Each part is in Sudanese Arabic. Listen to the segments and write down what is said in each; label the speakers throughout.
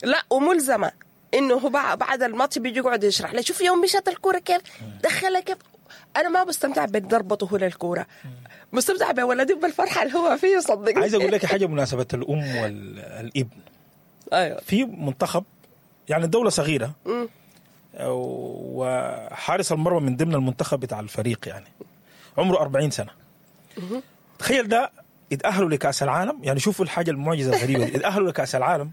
Speaker 1: لا وملزمه انه هو بعد الماتش بيجي يقعد يشرح لي، شوف يوم مشت الكورة كيف، دخلها كيف. انا ما بستمتع بضربته هو للكورة، مستمتع بولدي بالفرحه اللي هو فيه، صدقني.
Speaker 2: عايز اقول لك حاجة بمناسبة الام والابن.
Speaker 1: ايوه.
Speaker 2: في منتخب يعني الدولة صغيرة، وحارس المرمى من ضمن المنتخب بتاع الفريق يعني عمره 40 سنة. تخيل ده اتاهلوا لكاس العالم، يعني شوفوا الحاجة المعجزة الغريبة دي، اتاهلوا لكاس العالم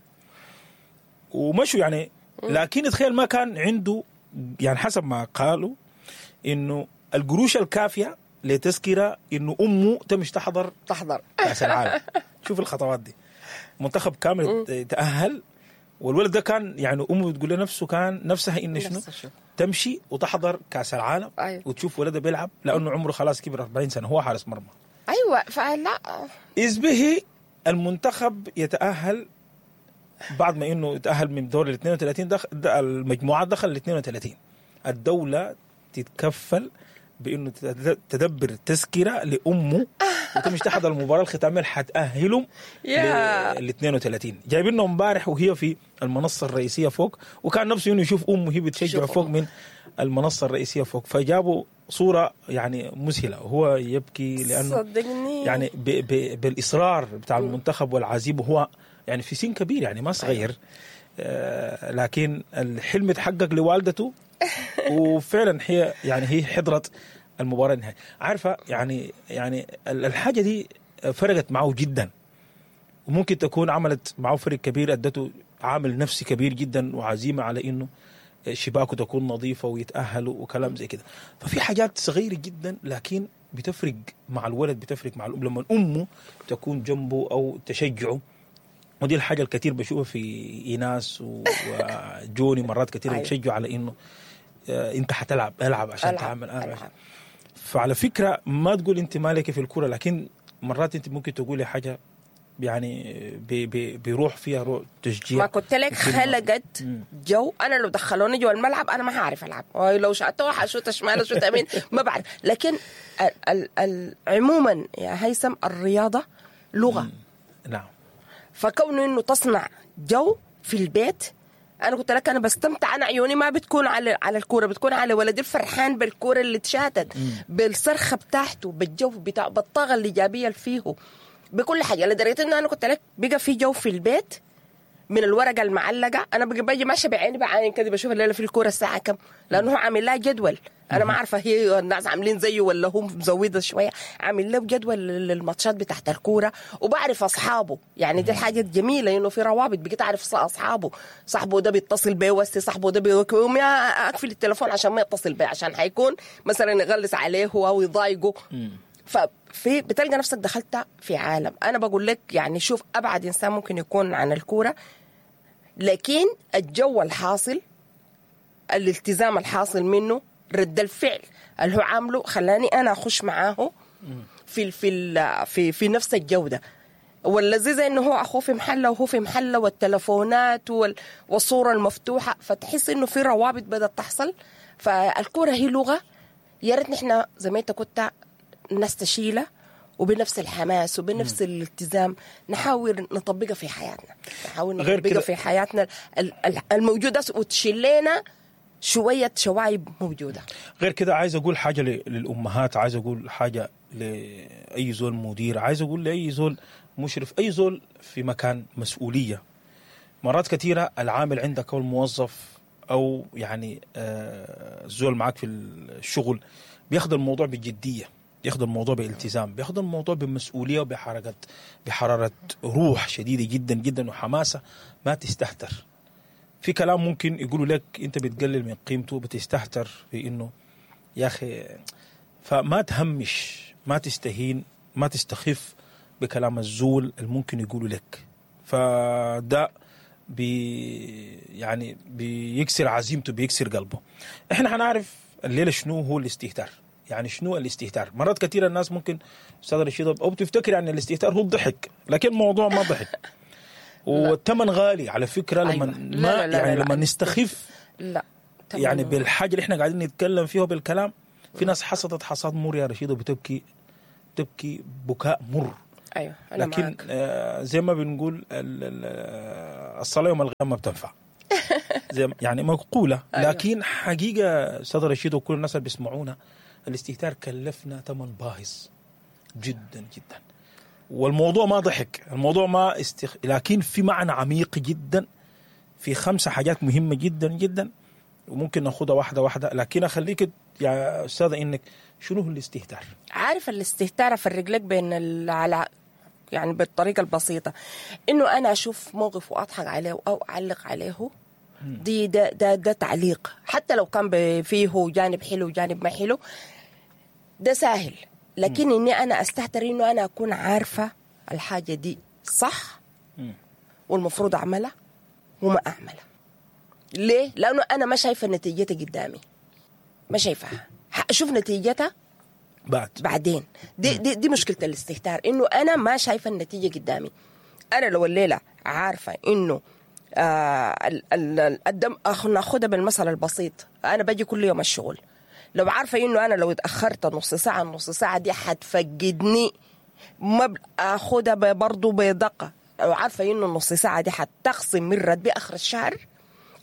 Speaker 2: ومشوا يعني، لكن تخيل ما كان عنده يعني حسب ما قالوا انه القروش الكافيه لتذكره انه امه تمشي تحضر كاس العالم. شوف الخطوات دي، منتخب كامل تاهل، والولد ده كان يعني امه بتقول لنفسه كان نفسها ان شنو تمشي وتحضر كاس العالم.
Speaker 1: أيوة.
Speaker 2: وتشوف ولدها بيلعب، لانه عمره خلاص كبر 40 سنة، هو حارس مرمى.
Speaker 1: ايوه. فلا
Speaker 2: اذ به المنتخب يتاهل بعد ما انه يتاهل من دور ال 32، دخل المجموعات، دخل ال 32، الدولة تتكفل بانه تدبر تذكره لامه وتمشي تحضر المباراة الختامية اللي حتاهلهم لل 32. جايبينه امبارح وهي في المنصة الرئيسية فوق، وكان نفسه انه يشوف امه هي بتشجع فوق من المنصة الرئيسية فوق، فجابوا صوره يعني مذهلة وهو يبكي، لانه
Speaker 1: صدقني
Speaker 2: يعني بالاصرار بتاع المنتخب والعزيمة، وهو يعني في سن كبير يعني ما صغير، لكن الحلم تحقق لوالدته، وفعلا هي يعني هي حضرت المباراة النهائية. عارفه يعني الحاجة دي فرقت معه جدا، وممكن تكون عملت معه فرق كبير، ادته عامل نفسي كبير جدا وعزيمة على انه شباكه تكون نظيفة ويتاهلوا وكلام زي كده. ففي حاجات صغيرة جدا لكن بتفرق مع الولد، بتفرق مع الام لما امه تكون جنبه او تشجعه. ودي الحاجة الكثير بشوفها في ايناس وجوني مرات كثير.
Speaker 1: أيوة.
Speaker 2: بتشجعوا على انه انت حتلعب، العب عشان
Speaker 1: ألعب،
Speaker 2: تعمل العب.
Speaker 1: ألعب.
Speaker 2: فعلى فكرة ما تقول انت مالك في الكورة، لكن مرات انت ممكن تقولي حاجة يعني بيروح فيها روح تشجيع.
Speaker 1: ما كنت لك
Speaker 2: وكلمة.
Speaker 1: خلقت جو. انا لو دخلوني جو الملعب انا ما هعرف العب، لو شاتوها حشوت شمال اشوت يمين ما بعرف. لكن ال ال ال عموما يا هيثم الرياضة لغة.
Speaker 2: نعم.
Speaker 1: فكونه انه تصنع جو في البيت، انا قلت لك انا بستمتع، انا عيوني ما بتكون على الكورة، بتكون على ولدي الفرحان بالكورة اللي اتشاتت، بالصرخه بتاعته، بالجو بتاع، بالطاقة الايجابية اللي فيه، بكل حاجة. لدرجة انه انا قلت لك بقى في جو في البيت من الورقة المعلقة، انا بقى باجي ماشية بعيني بعين كده بشوف الليلة في الكورة الساعة كم، لانه هو عامل لها جدول. انا ما عارفه هي الناس عاملين زيه ولا هو مزوده شوية، عامل له جدول للماتشات بتاعت الكورة، وبعرف اصحابه. يعني دي الحاجة الجميلة انه في روابط، بقيت اعرف اصحابه، صاحبه ده بيتصل بيه وسي، صاحبه ده بيقوم يا اقفل التليفون عشان ما يتصل بيه، عشان حيكون مثلا يغلس عليه او يضايقه. ففي بتلقى نفسك دخلت في عالم. انا بقول لك يعني شوف ابعد انسان ممكن يكون عن الكورة، لكن الجو الحاصل، الالتزام الحاصل منه، رد الفعل اللي هو عامله خلاني انا اخش معاه في في في في نفس الجودة. واللذيذ انه هو اخوه في محله وهو في محله، والتلفونات والصورة المفتوحة، فتحس انه في روابط بدات تحصل. فالكوره هي لغة، يا ريت نحن زي ما انت كنت الناس تشيلها وبنفس الحماس وبنفس الالتزام نحاول نطبقها في حياتنا، نحاول نطبقها في حياتنا الموجودة، وتشيل لنا شوية شوايب موجودة.
Speaker 2: غير كده عايز أقول حاجة للأمهات، عايز أقول حاجة لأي زول مدير، عايز أقول لأي زول مشرف، أي زول في مكان مسؤولية. مرات كثيرة العامل عندك أو الموظف أو يعني الزول معك في الشغل بياخد الموضوع بجدية، بياخد الموضوع بالتزام، بياخد الموضوع بمسؤولية وبحركة، بحرارة روح شديدة جدا جدا وحماسة. ما تستهتر في كلام ممكن يقولوا لك انت بتقلل من قيمته، بتستهتر في انه يا اخي. فما تهمش، ما تستهين، ما تستخف بكلام الزول اللي ممكن يقولوا لك. فده يعني بيكسر عزيمته، بيكسر قلبه. احنا هنعرف الليلة شنو هو الاستهتار، يعني شنو الاستهتار. مرات كثيرة الناس ممكن استاذ رشيد او بتفتكر يعني الاستهتار هو الضحك، لكن الموضوع ما ضحك والثمن غالي على فكرة. لما
Speaker 1: أيوة.
Speaker 2: ما لا لا يعني لا لما نستخف
Speaker 1: لا
Speaker 2: يعني بالحاجة اللي احنا قاعدين نتكلم فيها بالكلام، في ناس حصدت حصاد مر يا رشيد وبتبكي، تبكي بكاء مر.
Speaker 1: ايوه انا
Speaker 2: لكن
Speaker 1: معاك.
Speaker 2: زي ما بنقول الصلاة يوم القيامة ما بتنفع. زي يعني مقولة.
Speaker 1: أيوة.
Speaker 2: لكن حقيقة استاذ رشيد وكل الناس اللي بيسمعونا، الاستهتار كلفنا ثمن باهظ جدا جدا. والموضوع ما ضحك، الموضوع ما لكن في معنى عميق جدا، في 5 حاجات مهمة جدا جدا وممكن ناخدها واحدة واحدة. لكن اخليك يا استاذه انك شنو هو الاستهتار؟
Speaker 1: عارف الاستهتار افرق لك بين على يعني بالطريقة البسيطة، انه انا اشوف موقف واضحك عليه او اعلق عليه، دي ده ده ده تعليق، حتى لو كان فيه جانب حلو وجانب ما حلو، ده سهل. لكن اني انا استهتر انه انا اكون عارفه الحاجة دي صح والمفروض اعملها وما اعملها. ليه؟ لانه انا ما شايفه نتيجتها قدامي، ما شايفاها، اشوف نتيجتها بعدين. دي دي دي مشكلة الاستهتار، انه انا ما شايفه النتيجة قدامي. انا لو الليلة عارفه انه الدم، ناخدها بالمثل البسيط، انا باجي كل يوم الشغل، لو عارفه انه انا لو اتاخرت نص ساعة، النص ساعة دي حتفقدني، ما اخدها برضه بدقة. لو عارفه انه النص ساعة دي حتخصم من راتبي اخر الشهر،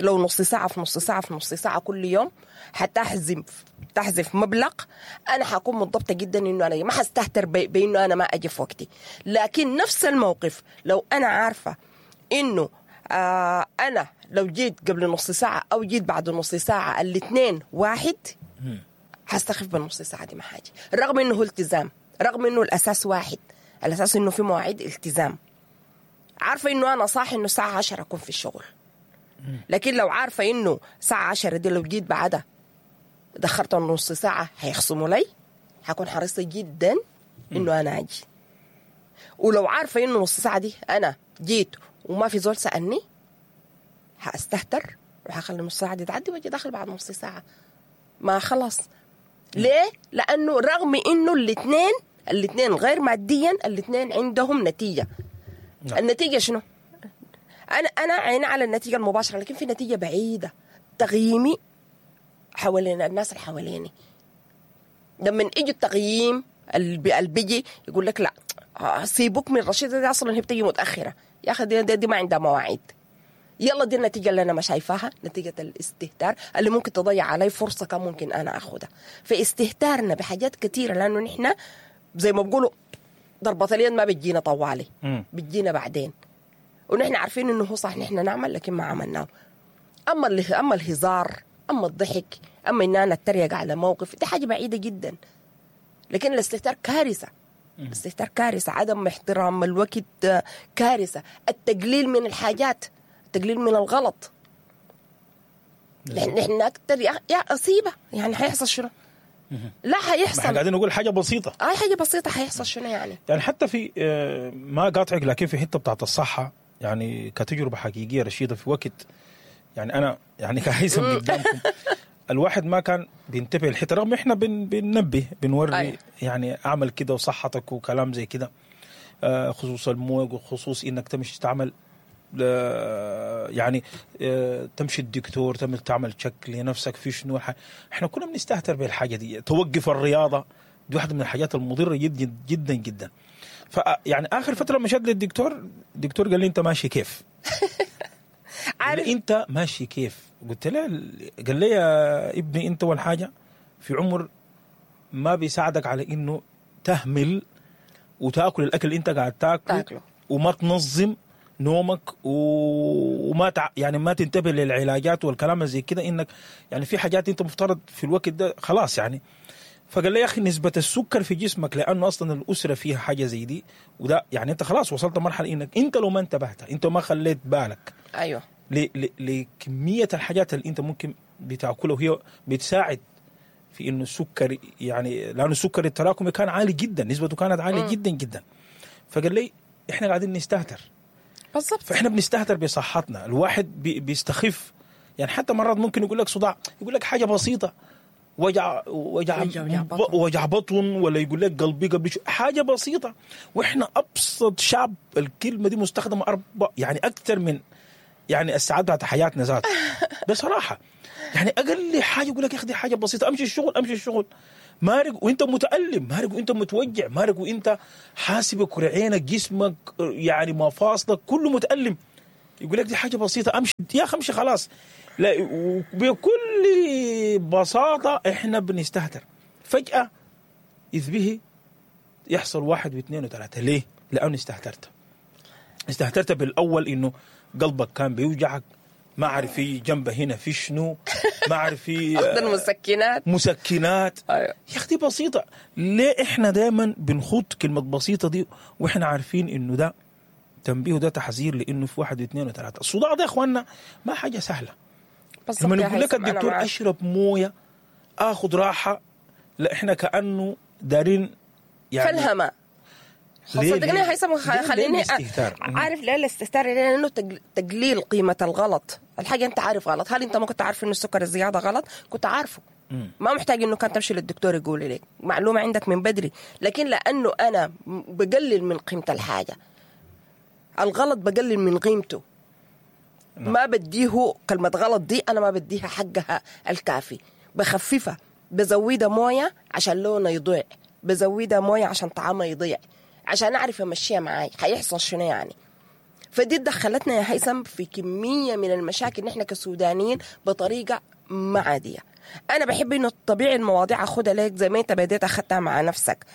Speaker 1: لو نص ساعة في نص ساعة في نص ساعة كل يوم حتحذف مبلغ، انا حكون منضبطة جدا انه انا ما حستهتر بانه انا ما اجي في وقتي. لكن نفس الموقف لو انا عارفه انه انا لو جيت قبل نص ساعة او جيت بعد نص ساعة الاثنين واحد، حستخف بالنص ساعة دي ما حاجة، رغم انه التزام، رغم انه الاساس واحد، الاساس انه في مواعيد التزام. عارفه انه انا صاحي انه الساعة 10 اكون في الشغل، لكن لو عارفه انه الساعة 10 دي لو جيت بعدها دخرت نص ساعة هيخصموا لي، حكون حريصة جدا انه انا اجي. ولو عارفه انه نص ساعة دي انا جيت وما في زول سالني، هاستهتر وهخلي نص ساعة دي تعدي واجي داخل بعد نص ساعة. ما خلاص. ليه؟ لانه رغم انه الاثنين غير ماديا، الاثنين عندهم نتيجة. نعم. النتيجة شنو؟ انا عيني على النتيجة المباشرة، لكن في نتيجة بعيدة، تقييمي حوالين الناس اللي حواليني. لما يجي التقييم اللي بيجي يقول لك لا سيبوك من رشيده دي، اصلا هي بتيجي متاخرة، يا اخي دي ما عندها مواعيد. يلا دي النتيجة اللي انا ما شايفاها، نتيجة الاستهتار اللي ممكن تضيع علي فرصة كان ممكن انا اخدها. فاستهتارنا بحاجات كثيرة، لانه نحن زي ما بيقولوا ضربه اليد ما بتجينا طوالي، بتجينا بعدين، ونحن عارفين انه هو صح نحن نعمل، لكن ما عملناه. اما الهزار، اما الضحك، اما ان انا اتريق على موقف، دي حاجة بعيدة جدا. لكن الاستهتار كارثة. الاستهتار كارثة، عدم احترام الوقت كارثة، التقليل من الحاجات، التقليل من الغلط. نحن اكثر يا اصيبه، يعني حيحصل شنو؟ لا حيحصل،
Speaker 2: احنا قاعدين نقول حاجة بسيطة.
Speaker 1: حاجة بسيطة حيحصل شنو يعني؟
Speaker 2: يعني حتى في ما قاطعك، لكن في حتة بتاعت الصحة، يعني كتجربة حقيقية رشيده، في وقت يعني انا يعني كهيثم قدامكم الواحد ما كان بينتبه الحتة، رغم احنا بننبه بنوري. أيه. يعني اعمل كده وصحتك وكلام زي كده، خصوص الموج وخصوص انك تمشي تعمل يعني تمشي الدكتور، تعمل تشك لنفسك في شنو. احنا كنا بنستهتر بالحاجة دي. توقف الرياضة دي واحدة من الحاجات المضرة جدا جدا جدا. فيعني اخر فترة مشيت للدكتور، الدكتور قال لي انت ماشي كيف؟ عارف انت ماشي كيف؟ قلت له، قال لي يا ابني انت اول حاجة في عمر ما بيساعدك على انه تهمل وتاكل الاكل اللي انت قاعد تاكله وما تنظم نومك وما يعني ما تنتبه للعلاجات والكلام زي كده، انك يعني في حاجات انت مفترض في الوقت ده خلاص يعني. فقال لي يا اخي نسبه السكر في جسمك، لانه اصلا الاسرة فيها حاجة زي دي، وده يعني انت خلاص وصلت مرحلة انك انت لو ما انتبهت، انت ما خليت بالك
Speaker 1: ايوه
Speaker 2: لكميه الحاجات اللي انت ممكن بتاكلها، وهي بتساعد في انه السكر، يعني لانه السكر التراكمي كان عالي جدا، نسبته كانت عالية جدا جدا. فقال لي احنا قاعدين نستهتر
Speaker 1: بالضبط.
Speaker 2: فاحنا بنستهتر بصحتنا، الواحد بيستخف يعني. حتى مرات ممكن يقول لك صداع، يقول لك حاجة بسيطة، وجع وجع وجع بطن، ولا يقول لك قلبي قبل حاجة بسيطة. واحنا ابسط شعب الكلمة دي مستخدمة يعني اكثر من يعني الساعات بتاعت حياتنا ذات بصراحة. يعني اقل حاجة يقول لك يا اخي دي حاجة بسيطة، امشي الشغل امشي الشغل. مارق وانت متألم، مارق وانت متوجع، مارق وانت حاسب كرعينك، جسمك يعني مفاصلك كله متألم. يقول لك دي حاجة بسيطة، امشي يا اخي امشي خلاص. لا، وبكل بساطة احنا بنستهتر. فجاة اذ به يحصل 1 و2 و3. ليه؟ لانه استهترت. استهترت بالاول انه قلبك كان بيوجعك، ما عارف في جنبه هنا في شنو، ما عارف في
Speaker 1: المسكنات
Speaker 2: مسكنات.
Speaker 1: أيوة.
Speaker 2: يا اختي بسيطة. ليه احنا دائما بنخوض كلمة بسيطة دي واحنا عارفين انه ده تنبيه وده تحذير، لانه في 1 و2 و3. الصداع ده يا اخواننا ما حاجة سهلة. لما يقول لك الدكتور اشرب مويه اخذ راحة، لا احنا كانه دارين يعني
Speaker 1: فلهمه. صدقني هيثم، خليني عارف ليه الاستهتار؟ لانه تقليل قيمة الغلط. الحاجة انت عارف غلط، هل انت ما كنت عارف انه السكر الزيادة غلط؟ كنت عارفه، ما محتاج انه كان تمشي للدكتور يقول لك معلومة عندك من بدري. لكن لانه انا بقلل من قيمة الحاجة، الغلط بقلل من قيمته. ما بديه كلمة غلط دي، انا ما بديها حقها الكافي، بخففها، بزودها مويه عشان لونه يضيع، بزودها مويه عشان طعمها يضيع، عشان أعرف أمشيها معاي حيحصل شنو يعني. فدي دخلتنا يا هيثم في كمية من المشاكل نحن كسودانيين بطريقة ما عادية. أنا بحب إنه طبيعي المواضيع أخدها لك زي ما أنت بديت أخدتها مع نفسك.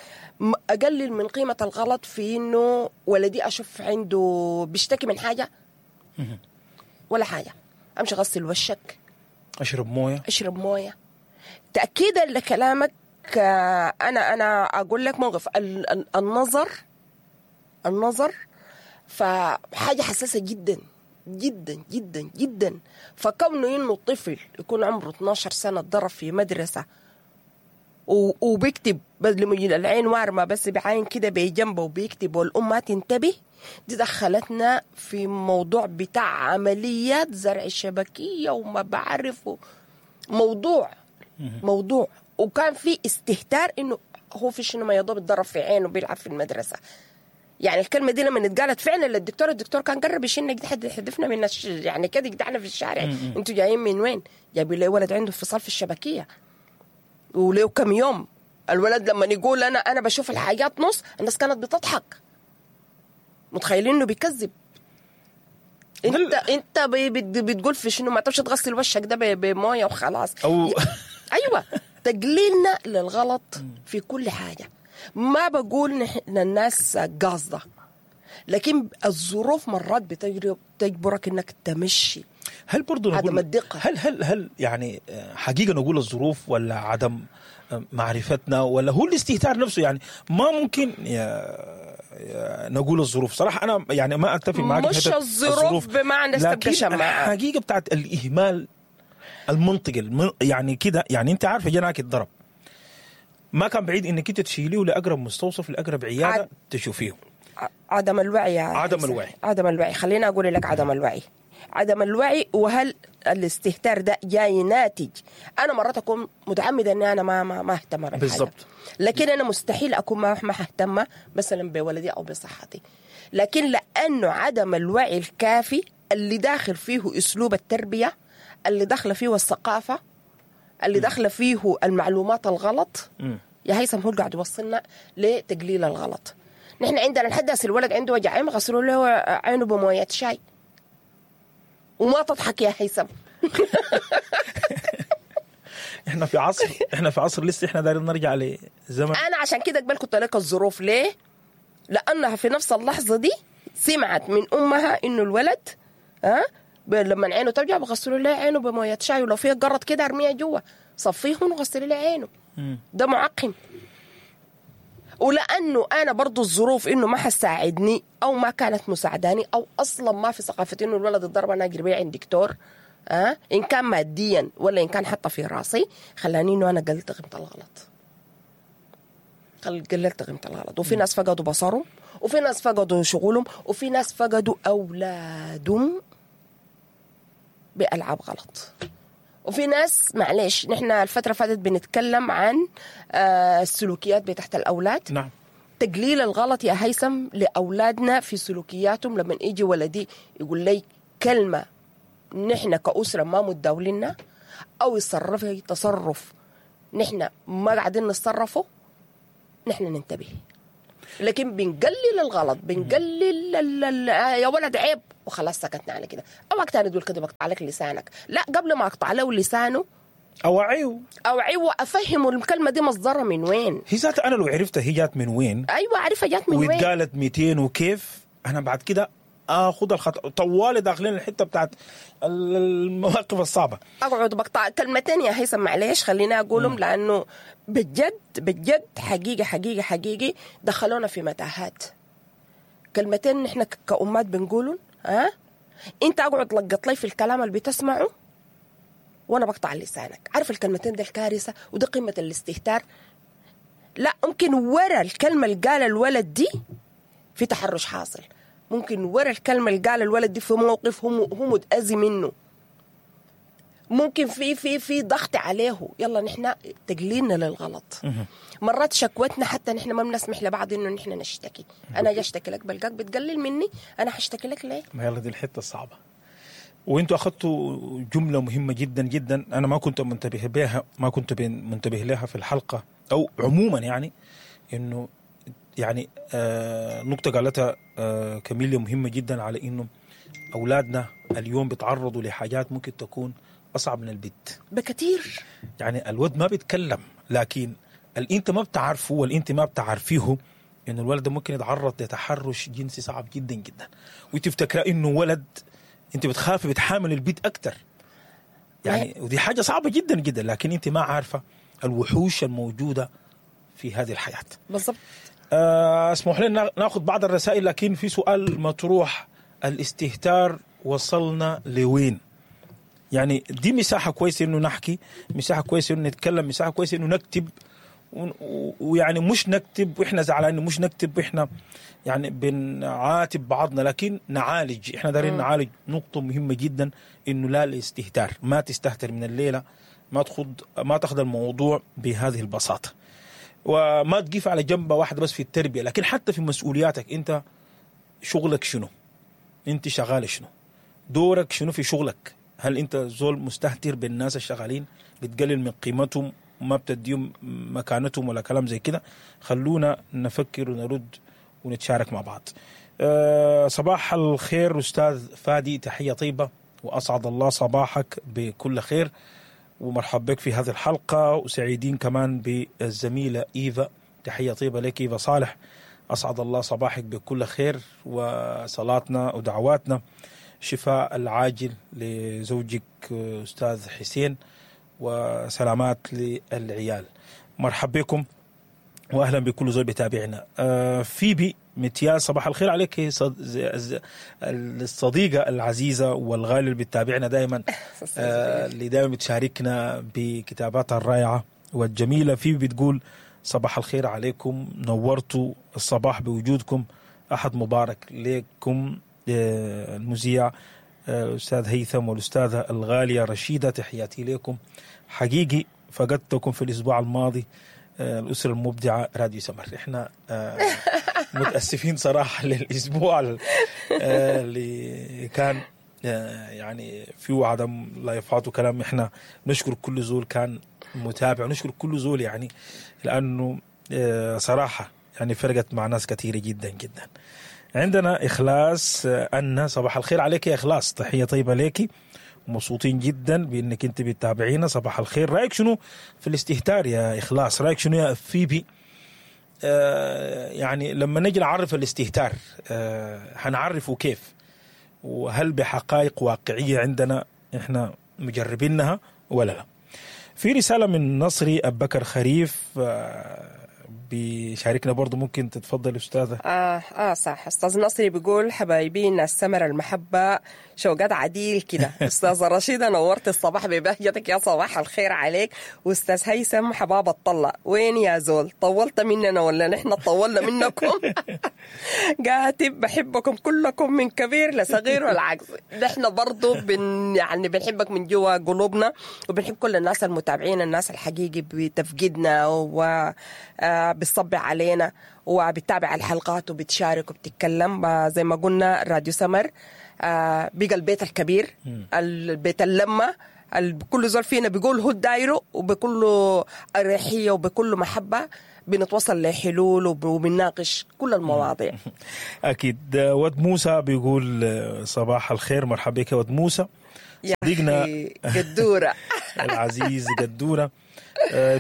Speaker 1: أقلل من قيمة الغلط في إنه ولدي أشوف عنده بيشتكي من حاجة ولا حاجة، أمشي غسل وشك،
Speaker 2: أشرب موية،
Speaker 1: أشرب موية. تأكيدا لكلامك، أنا أقول لك موقف النظر فحاجة حساسة جدا جدا جدا جدا. فكونه إنه الطفل يكون عمره 12 سنة اتضرب في مدرسة وبيكتب بدل العين وارمة بس بعين كده بجنبه وبيكتب والأم ما تنتبه، دي دخلتنا في موضوع بتاع عمليات زرع الشبكية وما بعرفه، موضوع. وكان في استهتار انه هو في شنو ما يضرب اتضرب في عينه بيلعب في المدرسة. يعني الكلمة دي لما اتقالت فعلا للدكتور، الدكتور كان قرب يشيلنا حد يحدفنا من يعني كده يقدعنا في الشارع. انتوا جايين من وين؟ جايبين لي ولد عنده انفصال في الشبكيه وليه كم يوم. الولد لما يقول انا بشوف الحاجات نص، الناس كانت بتضحك، متخيلين انه بيكذب. انت بتقول في شنو؟ ما تمشي تغسل وشك ده بمويه وخلاص.
Speaker 2: أو
Speaker 1: ايوه، تقليلنا للغلط في كل حاجة. ما بقول نحن الناس قاصده، لكن الظروف مرات بتجبرك انك تمشي.
Speaker 2: هل برضو نقول
Speaker 1: عدم الدقة؟
Speaker 2: هل يعني حقيقة نقول الظروف ولا عدم معرفتنا ولا هو الاستهتار نفسه؟ يعني ما ممكن نقول الظروف. صراحة انا يعني ما اتفق معك،
Speaker 1: مش الظروف بمعنى
Speaker 2: لكن الحقيقة بتاعت الاهمال المنطقي يعني كده. يعني انت عارفه جناك اتضرب، ما كان بعيد انك انت تشيليه لاقرب مستوصف، لاقرب عيادة تشوفيه.
Speaker 1: عدم الوعي،
Speaker 2: عدم الوعي،
Speaker 1: عدم الوعي. خليني اقول لك عدم الوعي، عدم الوعي. وهل الاستهتار ده جاي ناتج؟ انا مرات اكون متعمدة اني انا ما اهتم بالحاجة
Speaker 2: بالضبط،
Speaker 1: لكن انا مستحيل اكون ما اهتم مثلا بولدي او بصحتي، لكن لانه عدم الوعي الكافي اللي داخل فيه اسلوب التربية، اللي داخله فيه الثقافة، اللي داخله فيه المعلومات الغلط. يا هيثم هو قاعد يوصلنا لتقليل الغلط. نحن عندنا لحد هسه الولد عنده وجع عين غسلوا له عينه بمويه شاي، وما تضحك يا هيثم.
Speaker 2: احنا في عصر، احنا في عصر لسه احنا دايرين نرجع لزمن.
Speaker 1: انا عشان كده قبل كنت لك الظروف. ليه؟ لانها في نفس اللحظة دي سمعت من امها انه الولد لما عينه توجع بغسلوا له عينه بمويه شاي، ولو فيها قرط كده ارميها جوا، صفيهم وغسلي له عينه، ده معقم. ولانه انا برضو الظروف انه ما حساعدني او ما كانت مساعداني، او اصلا ما في ثقافة انه الولد اتضرب انا اجري بيه عند دكتور، ان كان ماديا ولا ان كان حتى في راسي، خلاني انه انا قلت قيمة الغلط، قللت قيمة الغلط. وفي ناس فقدوا بصرهم، وفي ناس فقدوا شغلهم، وفي ناس فقدوا اولادهم بألعاب غلط. وفي ناس معلش نحن الفترة فاتت بنتكلم عن السلوكيات بتاعت الأولاد.
Speaker 2: نعم.
Speaker 1: تقليل الغلط يا هيثم لأولادنا في سلوكياتهم. لما يجي ولدي يقول لي كلمة نحن كأسرة ما متداولينها، أو يتصرف تصرف نحن ما قاعدين نتصرفه، نحن ننتبه. لكن بنقلل الغلط، بنقلل يا ولد عيب وخلاص سكتنا على كده. اوعك تاني تقول كده بقطع لك لسانك، لا، قبل ما اقطع له لسانه
Speaker 2: اوعيه
Speaker 1: وافهمه الكلمة دي مصدرها من وين.
Speaker 2: هي ذاتها انا لو عرفتها هي جات من وين،
Speaker 1: ايوه عارفه جات من وين
Speaker 2: واتقالت 200 وكيف، انا بعد كده اخذ الخطأ طوالي داخلين الحتة بتاعت المواقف الصعبة.
Speaker 1: اقعد بقطع كلمتين يا هيثم، معلش خليني اقولهم لانه بجد بجد حقيقي حقيقي حقيقي دخلونا في متاهات. كلمتين نحن كأمات بنقولهم، ها انت اقعد لقط لي في الكلام اللي بتسمعه وانا بقطع لسانك. عارف الكلمتين ده الكارثة، وده قمة الاستهتار. لا، ممكن ورا الكلمة اللي قال الولد دي في تحرش حاصل، ممكن ورا الكلمة اللي قال الولد دي في موقف هو متأذي منه، ممكن في في في ضغط عليه. يلا نحن تقليلنا للغلط، مرات شكوتنا حتى نحن ما بنسمح لبعض انه نحن نشتكي. انا اجي اشتكي لك بلقاك بتقلل مني، انا حاشتكي لك ليه؟
Speaker 2: ما يلا دي الحتة الصعبة. وانتوا اخذتوا جملة مهمة جدا جدا انا ما كنت منتبه بها، ما كنت منتبه لها في الحلقة او عموما، يعني انه يعني نقطة قالتها كاميليا مهمة جدا، على انه اولادنا اليوم بيتعرضوا لحاجات ممكن تكون اصعب من البيت
Speaker 1: بكثير.
Speaker 2: يعني الولد ما بيتكلم، لكن اللي انت ما بتعرفه واللي انت ما بتعرفيه انه الولد ممكن يتعرض لتحرش جنسي صعب جدا جدا، وتفتكر انه ولد، انت بتخافي بتحامل البيت اكثر يعني، ودي حاجة صعبة جدا جدا، لكن انت ما عارفه الوحوش الموجودة في هذه الحياة.
Speaker 1: بالضبط.
Speaker 2: اسمح لنا ناخذ بعض الرسائل، لكن في سؤال مطروح: الاستهتار وصلنا لوين؟ يعني دي مساحة كويسة انه نحكي، مساحة كويسة انه نتكلم، مساحة كويسة انه نكتب، ويعني مش نكتب واحنا زعلانين، مش نكتب واحنا يعني بنعاتب بعضنا، لكن نعالج. احنا دارين نعالج نقطة مهمة جدا، انه لا الاستهتار، ما تستهتر من الليلة، ما تاخذ الموضوع بهذه البساطة، وما تقف على جنبه واحدة بس في التربية، لكن حتى في مسؤولياتك. انت شغلك شنو؟ انت شغالة شنو؟ دورك شنو في شغلك؟ هل انت زول مستهتر بالناس الشغالين، بتقلل من قيمتهم، ما بتديهم مكانتهم ولا كلام زي كده؟ خلونا نفكر ونرد ونتشارك مع بعض. صباح الخير أستاذ فادي، تحية طيبة وأسعد الله صباحك بكل خير، ومرحب بك في هذه الحلقة، وسعيدين كمان بالزميلة إيفا، تحية طيبة لك إيفا صالح، أسعد الله صباحك بكل خير، وصلاتنا ودعواتنا شفاء العاجل لزوجك أستاذ حسين، وسلامات للعيال. مرحب بكم واهلا بكل زول بيتابعنا. فيبي متياز، صباح الخير عليك الصديقة العزيزة والغالية اللي بتتابعنا دائما، اللي دائما بتشاركنا بكتاباتها الرائعة والجميلة. فيبي بتقول صباح الخير عليكم، نورتوا الصباح بوجودكم، أحد مبارك لكم المذيع الأستاذ هيثم والأستاذة الغالية رشيدة، تحياتي لكم، حقيقي فقدتكم في الأسبوع الماضي، الأسرة المبدعة راديو سمر. إحنا متأسفين صراحة للأسبوع اللي كان يعني فيه عدم لايفات وكلام. إحنا نشكر كل زول كان متابع، نشكر كل زول يعني، لأنه صراحة يعني فرقت مع ناس كثيرة جدا جدا. عندنا إخلاص أن، صباح الخير عليك يا إخلاص، تحية طيبة لك، مبسوطين جدا بأنك أنت بتتابعينا. صباح الخير، رأيك شنو في الاستهتار يا إخلاص؟ رأيك شنو يا فيبي؟ يعني لما نجي نعرف الاستهتار هنعرفه كيف؟ وهل بحقائق واقعية عندنا إحنا مجربينها ولا لا؟ في رسالة من نصري أبو بكر خريف بيشاركنا برضو، ممكن تتفضل أستاذة.
Speaker 1: صح، أستاذ نصري بيقول حبايبينا السمر المحبة شوقات عديل كده. أستاذة رشيدة نورت الصباح ببهجتك، يا صباح الخير عليك. وأستاذ هيثم حباب الطلة، وين يا زول؟ طولت مننا ولا نحن طولنا منكم؟ قاتب بحبكم كلكم من كبير لصغير والعكس. نحن برضو يعني بنحبك من جوا قلوبنا، وبنحب كل الناس المتابعين، الناس الحقيقي بتفقدنا و بتصبع علينا وبتتابع الحلقات وبتشارك وبتتكلم. زي ما قلنا راديو سمر بقى البيت الكبير، البيت اللمة كل زول فينا بيقول هو دايرة، وبكل اريحية وبكل محبة بنتوصل لحلول وبنناقش كل المواضيع.
Speaker 2: اكيد. ود موسى بيقول صباح الخير، مرحبا بك يا ود موسى صديقنا
Speaker 1: قدوره
Speaker 2: العزيز قدوره.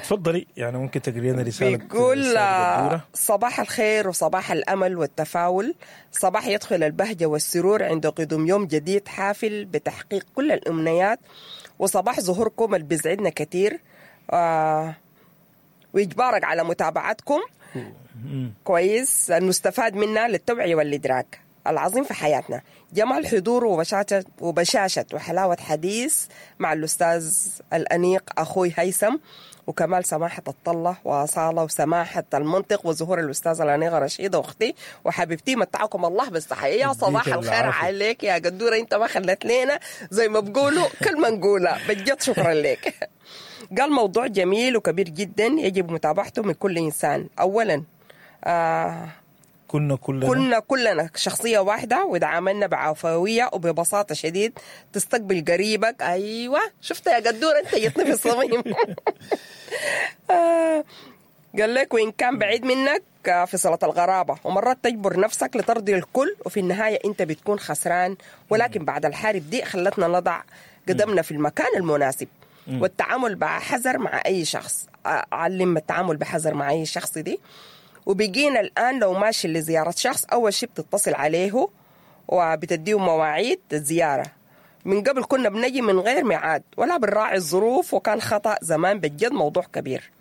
Speaker 2: تفضلي، يعني ممكن تقري لنا رسالة.
Speaker 1: بيقول صباح الخير وصباح الامل والتفاؤل، صباح يدخل البهجة والسرور عند قدوم يوم جديد حافل بتحقيق كل الامنيات، وصباح ظهوركم اللي بيسعدنا كثير ويجبرك على متابعتكم كويس المستفاد منها للتوعية والإدراك العظيم في حياتنا. جمال حضوره وبشاشة وحلاوة حديث مع الأستاذ الأنيق أخوي هيثم، وكمال سماحة الطلة وأصالة وسماحة المنطق، وظهور الأستاذ الأنيقة رشيدة أختي وحبيبتي، متعكم الله بالصحة. يا صباح الخير عليك يا قدورة، أنت ما خلت لنا زي ما بقولوا كلمة نقولها بجد، شكرا لك. قال موضوع جميل وكبير جدا يجب متابعته من كل إنسان. أولا كنا كلنا شخصية واحدة، وتعاملنا بعفوية وببساطة شديد، تستقبل قريبك. أيوة شفت يا قدورة أنت جتني في الصميم. قال لك وإن كان بعيد منك في صلة الغرابة، ومرات تجبر نفسك لترضي الكل، وفي النهاية أنت بتكون خسران. ولكن بعد الحرب دي خلتنا نضع قدمنا في المكان المناسب، والتعامل بحذر مع أي شخص. علم التعامل بحذر مع أي شخص دي. وبقينا الآن لو ماشي لزيارة شخص أول شيء بتتصل عليه وبتديه مواعيد الزيارة. من قبل كنا بنجي من غير ميعاد ولا بنراعي الظروف، وكان خطأ زمان بجد، موضوع كبير.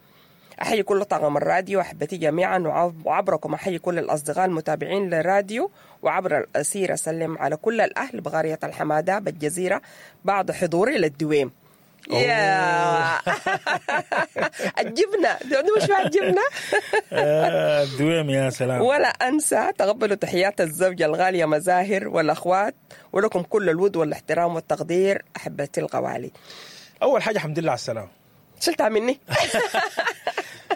Speaker 1: أحيي كل طاقم الراديو أحبتي جميعا، وعبركم أحيي كل الأصدقاء المتابعين للراديو، وعبر الأسير أسلم على كل الأهل بغارية الحمادة بالجزيرة بعد حضوري للدويم. يا الجبنة دي مش مع الجبنة.
Speaker 2: الدويم يا سلام.
Speaker 1: ولا أنسى تقبلوا تحيات الزوجة الغالية مزاهر والأخوات، ولكم كل الود والاحترام والتقدير أحبتي الغوالي.
Speaker 2: أول حاجة الحمد لله على السلامة.
Speaker 1: شلتها مني.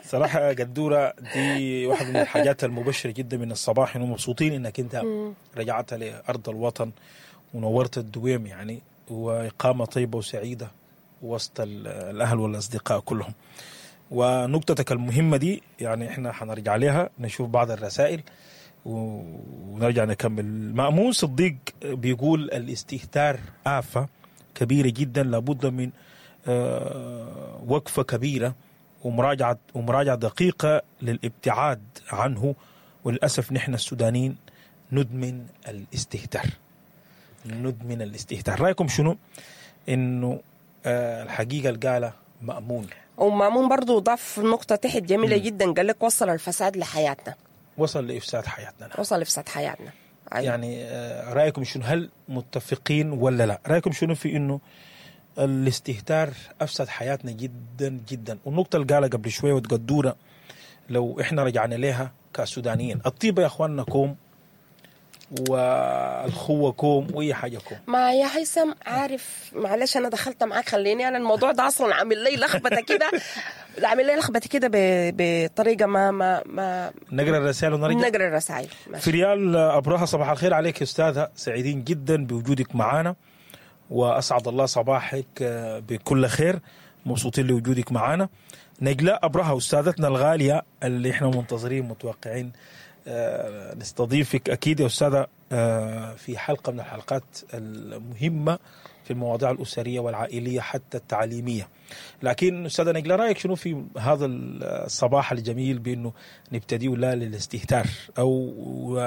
Speaker 2: صراحة قدورة دي واحدة من الحاجات المبشرة جدا من الصباح، إنه مبسوطين إنك أنت رجعت لأرض الوطن ونورت الدويم يعني، وإقامة طيبة وسعيدة وسط الأهل والأصدقاء كلهم. ونقطتك المهمة دي يعني إحنا حنرجع لها، نشوف بعض الرسائل ونرجع نكمل. مأمون صديق بيقول الاستهتار آفة كبيرة جدا، لابد من وقفة كبيرة ومراجعة دقيقة للابتعاد عنه، وللأسف نحن السودانيين ندمن الاستهتار، ندمن الاستهتار. رأيكم شنو إنه الحقيقة القالة مأمون؟
Speaker 1: ومأمون برضو ضاف نقطة تحت جميلة جدا، قال لك وصل الفساد لحياتنا،
Speaker 2: وصل لإفساد حياتنا.
Speaker 1: وصل لإفساد حياتنا. أيوة.
Speaker 2: يعني رأيكم شنو؟ هل متفقين ولا لا؟ رأيكم شنو في إنه الاستهتار أفسد حياتنا جدا جدا؟ والنقطة اللي قالها قبل شوية وتقدورة لو إحنا رجعنا لها كسودانيين، الطيبة يا أخواننا كوم، والخوة كوم، وأي حاجة كوم.
Speaker 1: ما يا هيثم عارف، معلش أنا دخلت معاك، خليني أنا الموضوع ده أصلا عامل لي لخبطة كده، عامل لي لخبطة كده بطريقة ما ما ما
Speaker 2: نقرأ الرسائل ونرجع.
Speaker 1: نقرأ الرسائل.
Speaker 2: فريال أبرهة صباح الخير عليك يا أستاذة، سعيدين جدا بوجودك معانا، وأسعد الله صباحك بكل خير، مبسوطين لوجودك معانا. نجلاء أبرهة أستاذتنا الغالية اللي إحنا منتظرين متوقعين نستضيفك أكيد يا أستاذة في حلقة من الحلقات المهمة في المواضيع الأسرية والعائلية حتى التعليمية. لكن أستاذة نجلاء، رأيك شنو في هذا الصباح الجميل بأنه نبتدي لا للاستهتار أو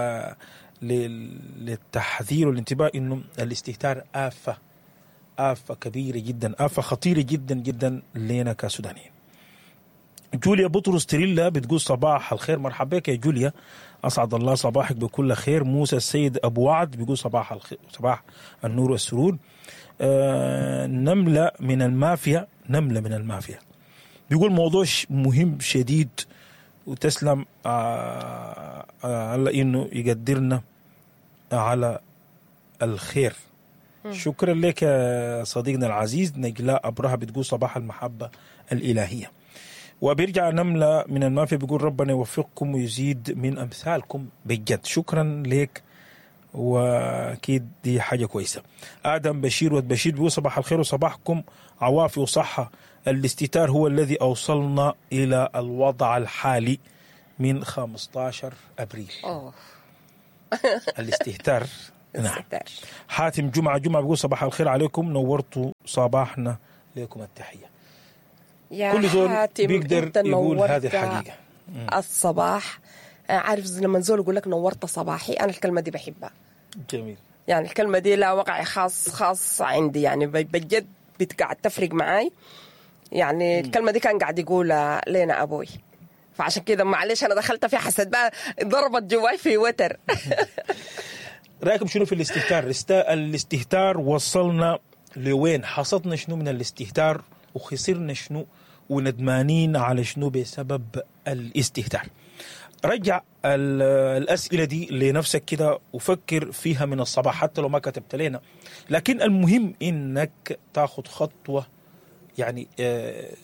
Speaker 2: للتحذير والانتباه أنه الاستهتار آفة، آفة كبيرة جدا، آفة خطيرة جدا جدا لنا كسودانيين. جوليا بطرس تريلا بتقول صباح الخير، مرحبا بك يا جوليا، أسعد الله صباحك بكل خير. موسى السيد أبو وعد بيقول صباح الخير، صباح النور والسرور. نملة من المافيا، نملة من المافيا بيقول موضوع مهم شديد، وتسلم على إنه يقدرنا على الخير. شكرا لك يا صديقنا العزيز. نجلاء أبرهة بتقول صباح المحبة الإلهية. وبيرجع نملة من المافيا بيقول ربنا يوفقكم ويزيد من أمثالكم بجد. شكرا لك واكيد دي حاجة كويسة. ادم بشير ود بشير بيقول صباح الخير وصباحكم عوافي وصحة. الاستهتار هو الذي اوصلنا الى الوضع الحالي من 15 ابريل.
Speaker 1: أوه.
Speaker 2: الاستهتار نعم.
Speaker 1: الاستهتار.
Speaker 2: حاتم جمعه جمعه بيقول صباح الخير عليكم، نورتوا صباحنا، لكم التحية.
Speaker 1: يا
Speaker 2: كل زول
Speaker 1: حاتم،
Speaker 2: بيقدر
Speaker 1: أنت
Speaker 2: يقول
Speaker 1: نورت
Speaker 2: هذه الحقيقة.
Speaker 1: الصباح. عارف لما زول يقول لك نورت صباحي، انا الكلمة دي بحبها.
Speaker 2: جميل.
Speaker 1: يعني الكلمة دي لا وقع خاص عندي، يعني بجد بتقعد تفرق معاي. يعني الكلمة دي كان قاعد يقولها لنا ابوي، فعشان كده معلش انا دخلت في حسد بقى، ضربت جواي في وتر.
Speaker 2: رايكم شنو في الاستهتار؟ الاستهتار وصلنا لوين؟ حصدنا شنو من الاستهتار؟ وخسرنا شنو؟ وندمانين على شنو بسبب الاستهتار؟ رجع الأسئلة دي لنفسك كده وفكر فيها من الصباح حتى لو ما كتبت لنا، لكن المهم إنك تاخد خطوة يعني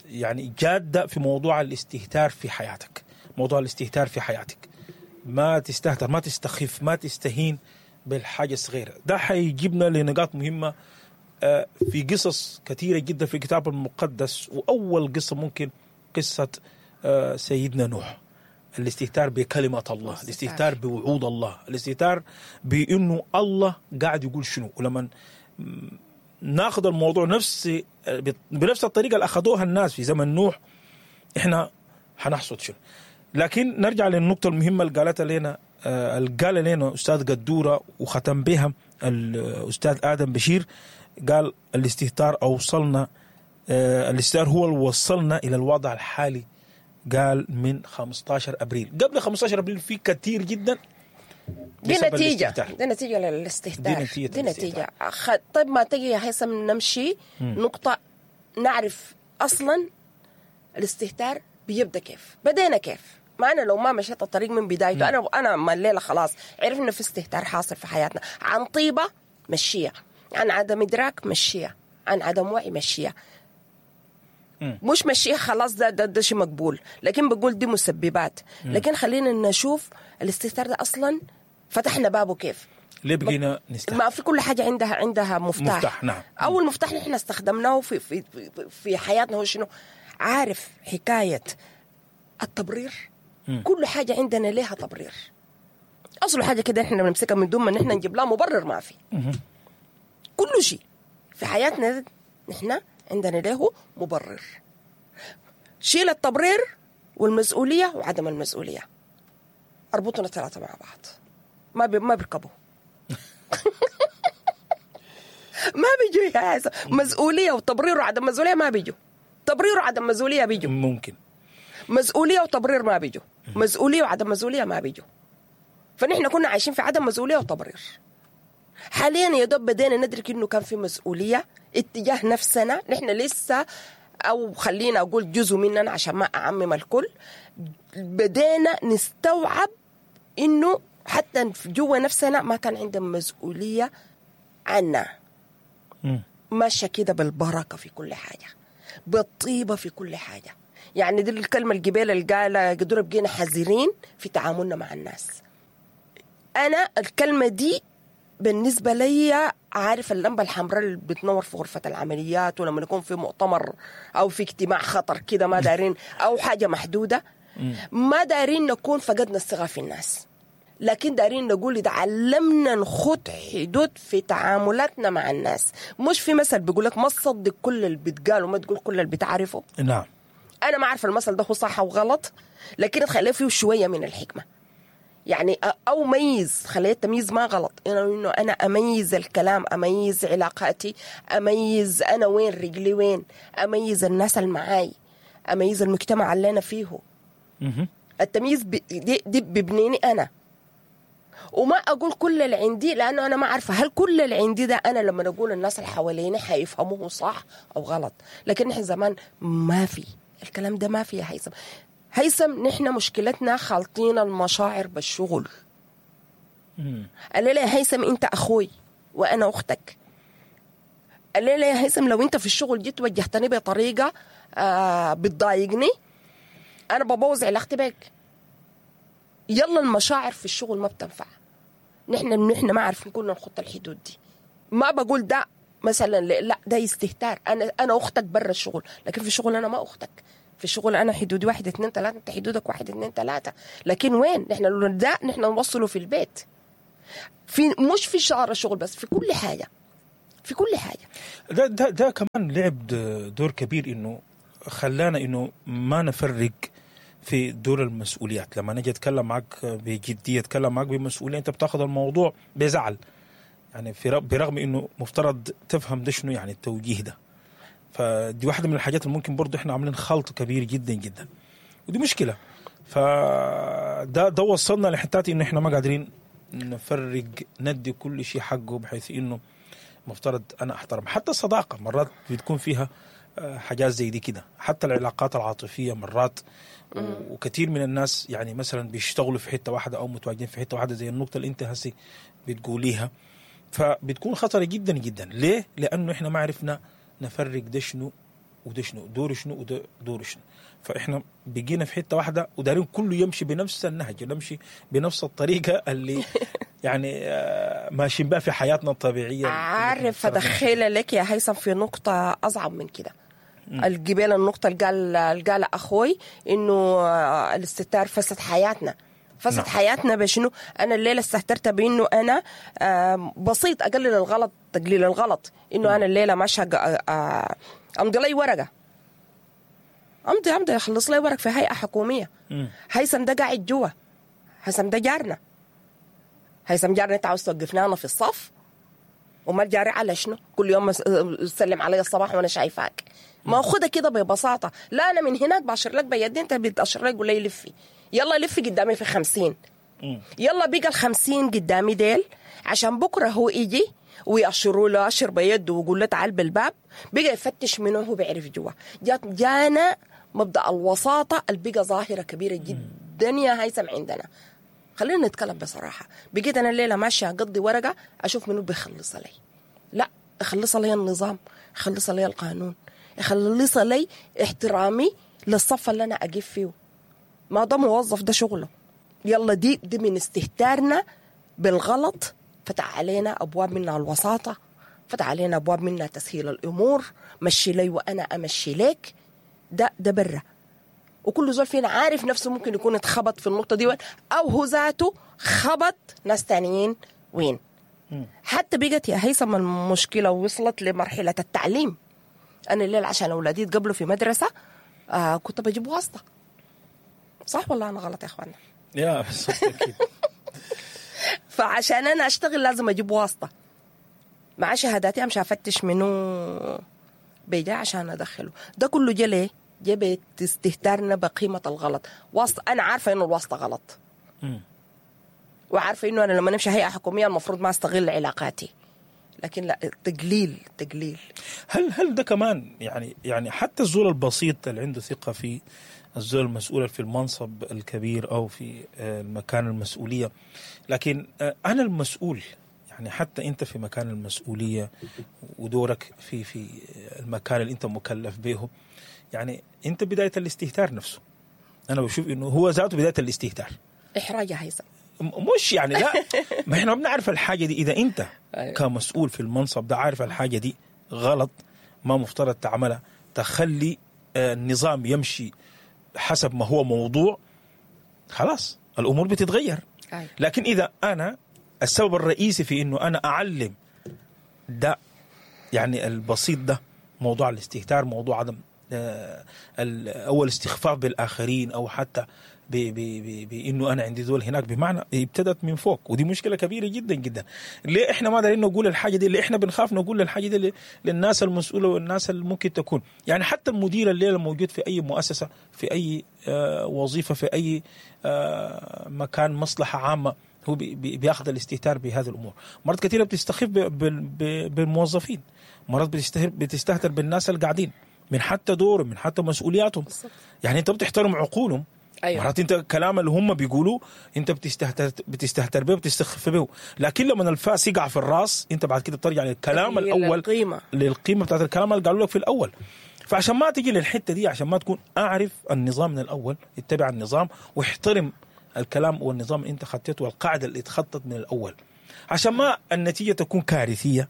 Speaker 2: يعني جادة في موضوع الاستهتار في حياتك. موضوع الاستهتار في حياتك، ما تستهتر، ما تستخف، ما تستهين بالحاجة الصغيرة. ده حيجيبنا لنقاط مهمة في قصص كثيرة جدا في الكتاب المقدس، وأول قصة ممكن قصة سيدنا نوح. الاستهتار بكلمة الله، الاستهتار بوعود الله، الاستهتار بأنه الله قاعد يقول شنو. ولما ناخذ الموضوع بنفس الطريقة اللي أخذوها الناس في زمن نوح، إحنا حنحصد شنو. لكن نرجع للنقطة المهمة اللي قالتها لنا اللي قال لنا أستاذ قدورة وختم بها الأستاذ آدم بشير. قال الاستهتار أوصلنا، الاستهتار هو اللي وصلنا إلى الوضع الحالي. قال من 15 أبريل، قبل 15 أبريل في كثير جدا
Speaker 1: دي
Speaker 2: بسبب
Speaker 1: نتيجة،
Speaker 2: الاستهتار.
Speaker 1: دي نتيجة للاستهتار،
Speaker 2: دي نتيجة
Speaker 1: دي نتيجة. طيب ما تجي يا هيثم نمشي نقطة نعرف أصلا الاستهتار بيبدأ كيف، بدينا كيف. ما أنا لو ما مشيت الطريق من بدايته، أنا ما الليلة خلاص عرفنا في استهتار حاصل في حياتنا، عن طيبة مشية، عن عدم إدراك مشية، عن عدم وعي مشية. مش مشية خلاص ده ده, ده شيء مقبول، لكن بقول دي مسببات. لكن خلينا نشوف الاستهتار ده أصلا فتحنا بابه كيف.
Speaker 2: ليه بقينا نستهتر؟
Speaker 1: ما في كل حاجة عندها مفتاح.
Speaker 2: مفتاح، نعم.
Speaker 1: أول مفتاح نحن استخدمناه في في في حياتنا هو شنو؟ عارف حكاية التبرير؟ كل حاجة عندنا لها تبرير. أصل حاجة كده إحنا بنمسكها من دون ما نحن نجيب لها مبرر، ما في. كل شيء في حياتنا نحن عندنا له مبرر. شيل التبرير والمسؤولية وعدم المسؤولية، أربطنا الثلاثة مع بعض، ما بيركبوا. ما بيجوا يا هيثم. مسؤولية وتبرير وعدم مسؤولية ما بيجوا. تبرير وعدم مسؤولية بيجوا.
Speaker 2: ممكن.
Speaker 1: مسؤولية وتبرير ما بيجوا. مسؤولية وعدم مسؤولية ما بيجوا. فنحن كنا عايشين في عدم مسؤولية وتبرير. حاليا يا دوب بدينا ندرك انه كان في مسؤولية اتجاه نفسنا. نحن لسه، او خلينا اقول جزء مننا عشان ما اعمم الكل، بدينا نستوعب انه حتى جوا نفسنا ما كان عندنا مسؤولية عنا. ماشية كده بالبركة في كل حاجة، بالطيبة في كل حاجة. يعني دي الكلمة الجبال اللي قالها قدروا بقينا حذرين في تعاملنا مع الناس. أنا الكلمة دي بالنسبة لي، عارف اللمبة الحمراء اللي بتنور في غرفة العمليات، ولما نكون في مؤتمر أو في اجتماع خطر كده ما دارين، أو حاجة محدودة، ما دارين نكون فقدنا الثقة في الناس، لكن دارين نقول إذا علمنا نخط حدود في تعاملاتنا مع الناس. مش في مثل بيقولك ما تصدق كل اللي بتقال وما تقول كل اللي بتعرفه.
Speaker 2: نعم.
Speaker 1: أنا ما أعرف المثل ده هو صح أو غلط، لكن تخليه فيه شوية من الحكمة. يعني أو ميز، خليه التمييز ما غلط، إنه أنا أميز الكلام، أميز علاقاتي، أميز أنا وين رجلي وين، أميز الناس اللي معاي، أميز المجتمع اللي أنا فيه. التمييز دي ببنيني أنا، وما أقول كل اللي عندي، لأنه أنا ما عارفة هل كل اللي عندي ده أنا لما أقول الناس اللي حواليني حيفهموه صح أو غلط. لكن نحن زمان ما في الكلام ده، ما في يا هيثم. هيثم نحن مشكلتنا خالطين المشاعر بالشغل. قال لي يا هيثم أنت أخوي وأنا أختك. قال لي يا هيثم لو أنت في الشغل جيت وجهتني بطريقة بتضايقني، أنا ببوظ علاقتي بك. يلا المشاعر في الشغل ما بتنفع. نحن ما عارفين كنا نخط الحدود دي. ما بقول ده مثلا لا ده استهتار، انا اختك برا الشغل، لكن في الشغل انا ما اختك. في الشغل انا حدودي 1 2 3، انت حدودك 1 2 3. لكن وين نحن ده؟ نحن نوصله في البيت، في مش في شعر الشغل بس، في كل حاجة، في كل حاجة.
Speaker 2: ده كمان لعب دور كبير، انه خلانا انه ما نفرق في دور المسؤوليات. لما نجي اتكلم معك بجدية، اتكلم معك بمسؤولية، انت بتاخذ الموضوع بزعل، يعني برغم انه مفترض تفهم ده شنو يعني التوجيه ده. فدي واحدة من الحاجات اللي ممكن برضه احنا عاملين خلط كبير جدا جدا، ودي مشكلة. فده ده وصلنا لحتات انه احنا ما قادرين نفرق، ندي كل شيء حقه، بحيث انه مفترض انا احترم. حتى الصداقة مرات بتكون فيها حاجات زي دي كده، حتى العلاقات العاطفية مرات، وكثير من الناس يعني مثلا بيشتغلوا في حتة واحدة او متواجدين في حتة واحدة، زي النقطة اللي انت هسي بتقوليها، فبتكون خطره جدا جدا. ليه؟ لانه احنا ما عرفنا نفرق ده شنو وده شنو، دور شنو وده دور شنو. فاحنا بقينا في حتة واحدة ودارين كله يمشي بنفس النهج، يمشي بنفس الطريقة اللي يعني ماشيين بها في حياتنا الطبيعية.
Speaker 1: عارف ادخل لك يا هيثم في نقطة اصعب من كده. الجبال، النقطة اللي قال اخوي انه الاستهتار فسد حياتنا. فسد نعم. حياتنا بشنو؟ انا الليلة استهترت بانه انا بسيط، اقلل الغلط، تقليل الغلط، انه انا الليلة ماشية امضي لي ورقة، امضي اخلص لي ورق في هيئة حكومية. هيثم ده قاعد جوا، هيثم ده جارنا، هيثم جارنا، انت عاوز توقفنا انا في الصف؟ وما جاري على شنو؟ كل يوم تسلم علي الصباح وانا شايفاك. ما اخدها كده ببساطة. لا انا من هناك باشر لك بيدي، انت بتاشر لي قول لي لفي، يلا لفي قدامي في 50، يلا بقى 50 قدامي ديل، عشان بكره هو يجي ويأشروا له أشر بيده ويقول له تعال بالباب، بقى يفتش منه هو بيعرف جوا. جانا مبدأ الوساطة اللي بقى ظاهرة كبيرة جدا يا هيثم عندنا. خلينا نتكلم بصراحة، بقيت أنا الليلة ماشية أقضي ورقة أشوف منو بيخلصها لي. لا، أخلصها لي النظام، أخلصها لي القانون، أخلصها لي احترامي للصف اللي أنا أقف فيه. ما ده موظف، ده شغله. يلا دي من استهتارنا بالغلط فتح علينا أبواب منها الوساطة، فتح علينا أبواب منها تسهيل الأمور، مشي لي وأنا أمشي لك. ده برا، وكل زول فينا عارف نفسه ممكن يكون اتخبط في النقطة دي، أو هو ذاته خبط ناس تانيين وين. حتى بقت يا هيثم المشكلة وصلت لمرحلة التعليم. أنا الليل عشان أولادي يتقبلوا في مدرسة كنت بجيب واسطة. صح ولا أنا غلط يا أخوانا؟
Speaker 2: يا بالضبط أكيد.
Speaker 1: فعشان أنا أشتغل لازم أجيب واسطة مع شهاداتي، أمشي أفتش منه بيجا عشان أدخله. ده كله جا ليه؟ جا استهتارنا بقيمة الغلط. واسطة، أنا عارفة إنه الواسطة غلط، وعارفة إنه أنا لما نمشي هيئة حكومية المفروض ما أستغل علاقاتي، لكن لا، تقليل.
Speaker 2: هل ده كمان يعني حتى الزول البسيط اللي عنده ثقة في الزول المسؤول في المنصب الكبير أو في المكان المسؤولية، لكن أنا المسؤول، يعني حتى أنت في مكان المسؤولية ودورك في المكان اللي أنت مكلف به، يعني أنت بداية الاستهتار نفسه. أنا بشوف إنه هو ذاته بداية الاستهتار.
Speaker 1: إحراج يا هيثم.
Speaker 2: مش يعني لا، ما إحنا بنعرف الحاجة دي. إذا أنت كمسؤول في المنصب ده عارف الحاجة دي غلط، ما مفترض تعملها، تخلي النظام يمشي حسب ما هو موضوع، خلاص الأمور بتتغير. لكن إذا أنا السبب الرئيسي في إنه أنا أعلم ده، يعني البسيط ده، موضوع الاستهتار، موضوع عدم أول استخفاف بالآخرين، أو حتى بإنه أنا عندي ذول هناك، بمعنى ابتدت من فوق. ودي مشكلة كبيرة جدا جدا. ليه إحنا ما دارين نقول الحاجة دي؟ ليه إحنا بنخاف نقول الحاجة دي للناس المسؤولة والناس اللي ممكن تكون، يعني حتى المدير الليلة الموجود في أي مؤسسة، في أي وظيفة، في أي مكان مصلحة عامة، هو بياخذ الاستهتار بهذه الأمور. مرات كثيرة بتستخف بالموظفين، مرات بتستهتر بالناس اللي قاعدين، من حتى دورهم، من حتى مسؤولياتهم. يعني أنت بتحترم عقولهم. أيوة. مرات انت الكلام اللي هم بيقولوه انت بتستهتر به، بتستخف به، لكن لما الفاس يقع في الراس انت بعد كده بترجع للكلام الاول، للقيمة بتاعت الكلام اللي قالوا لك في الاول. فعشان ما تيجي للحتة دي، عشان ما تكون، اعرف النظام من الاول، اتبع النظام واحترم الكلام والنظام اللي انت خطيته والقاعدة اللي اتخطت من الاول. عشان ما النتيجة تكون كارثية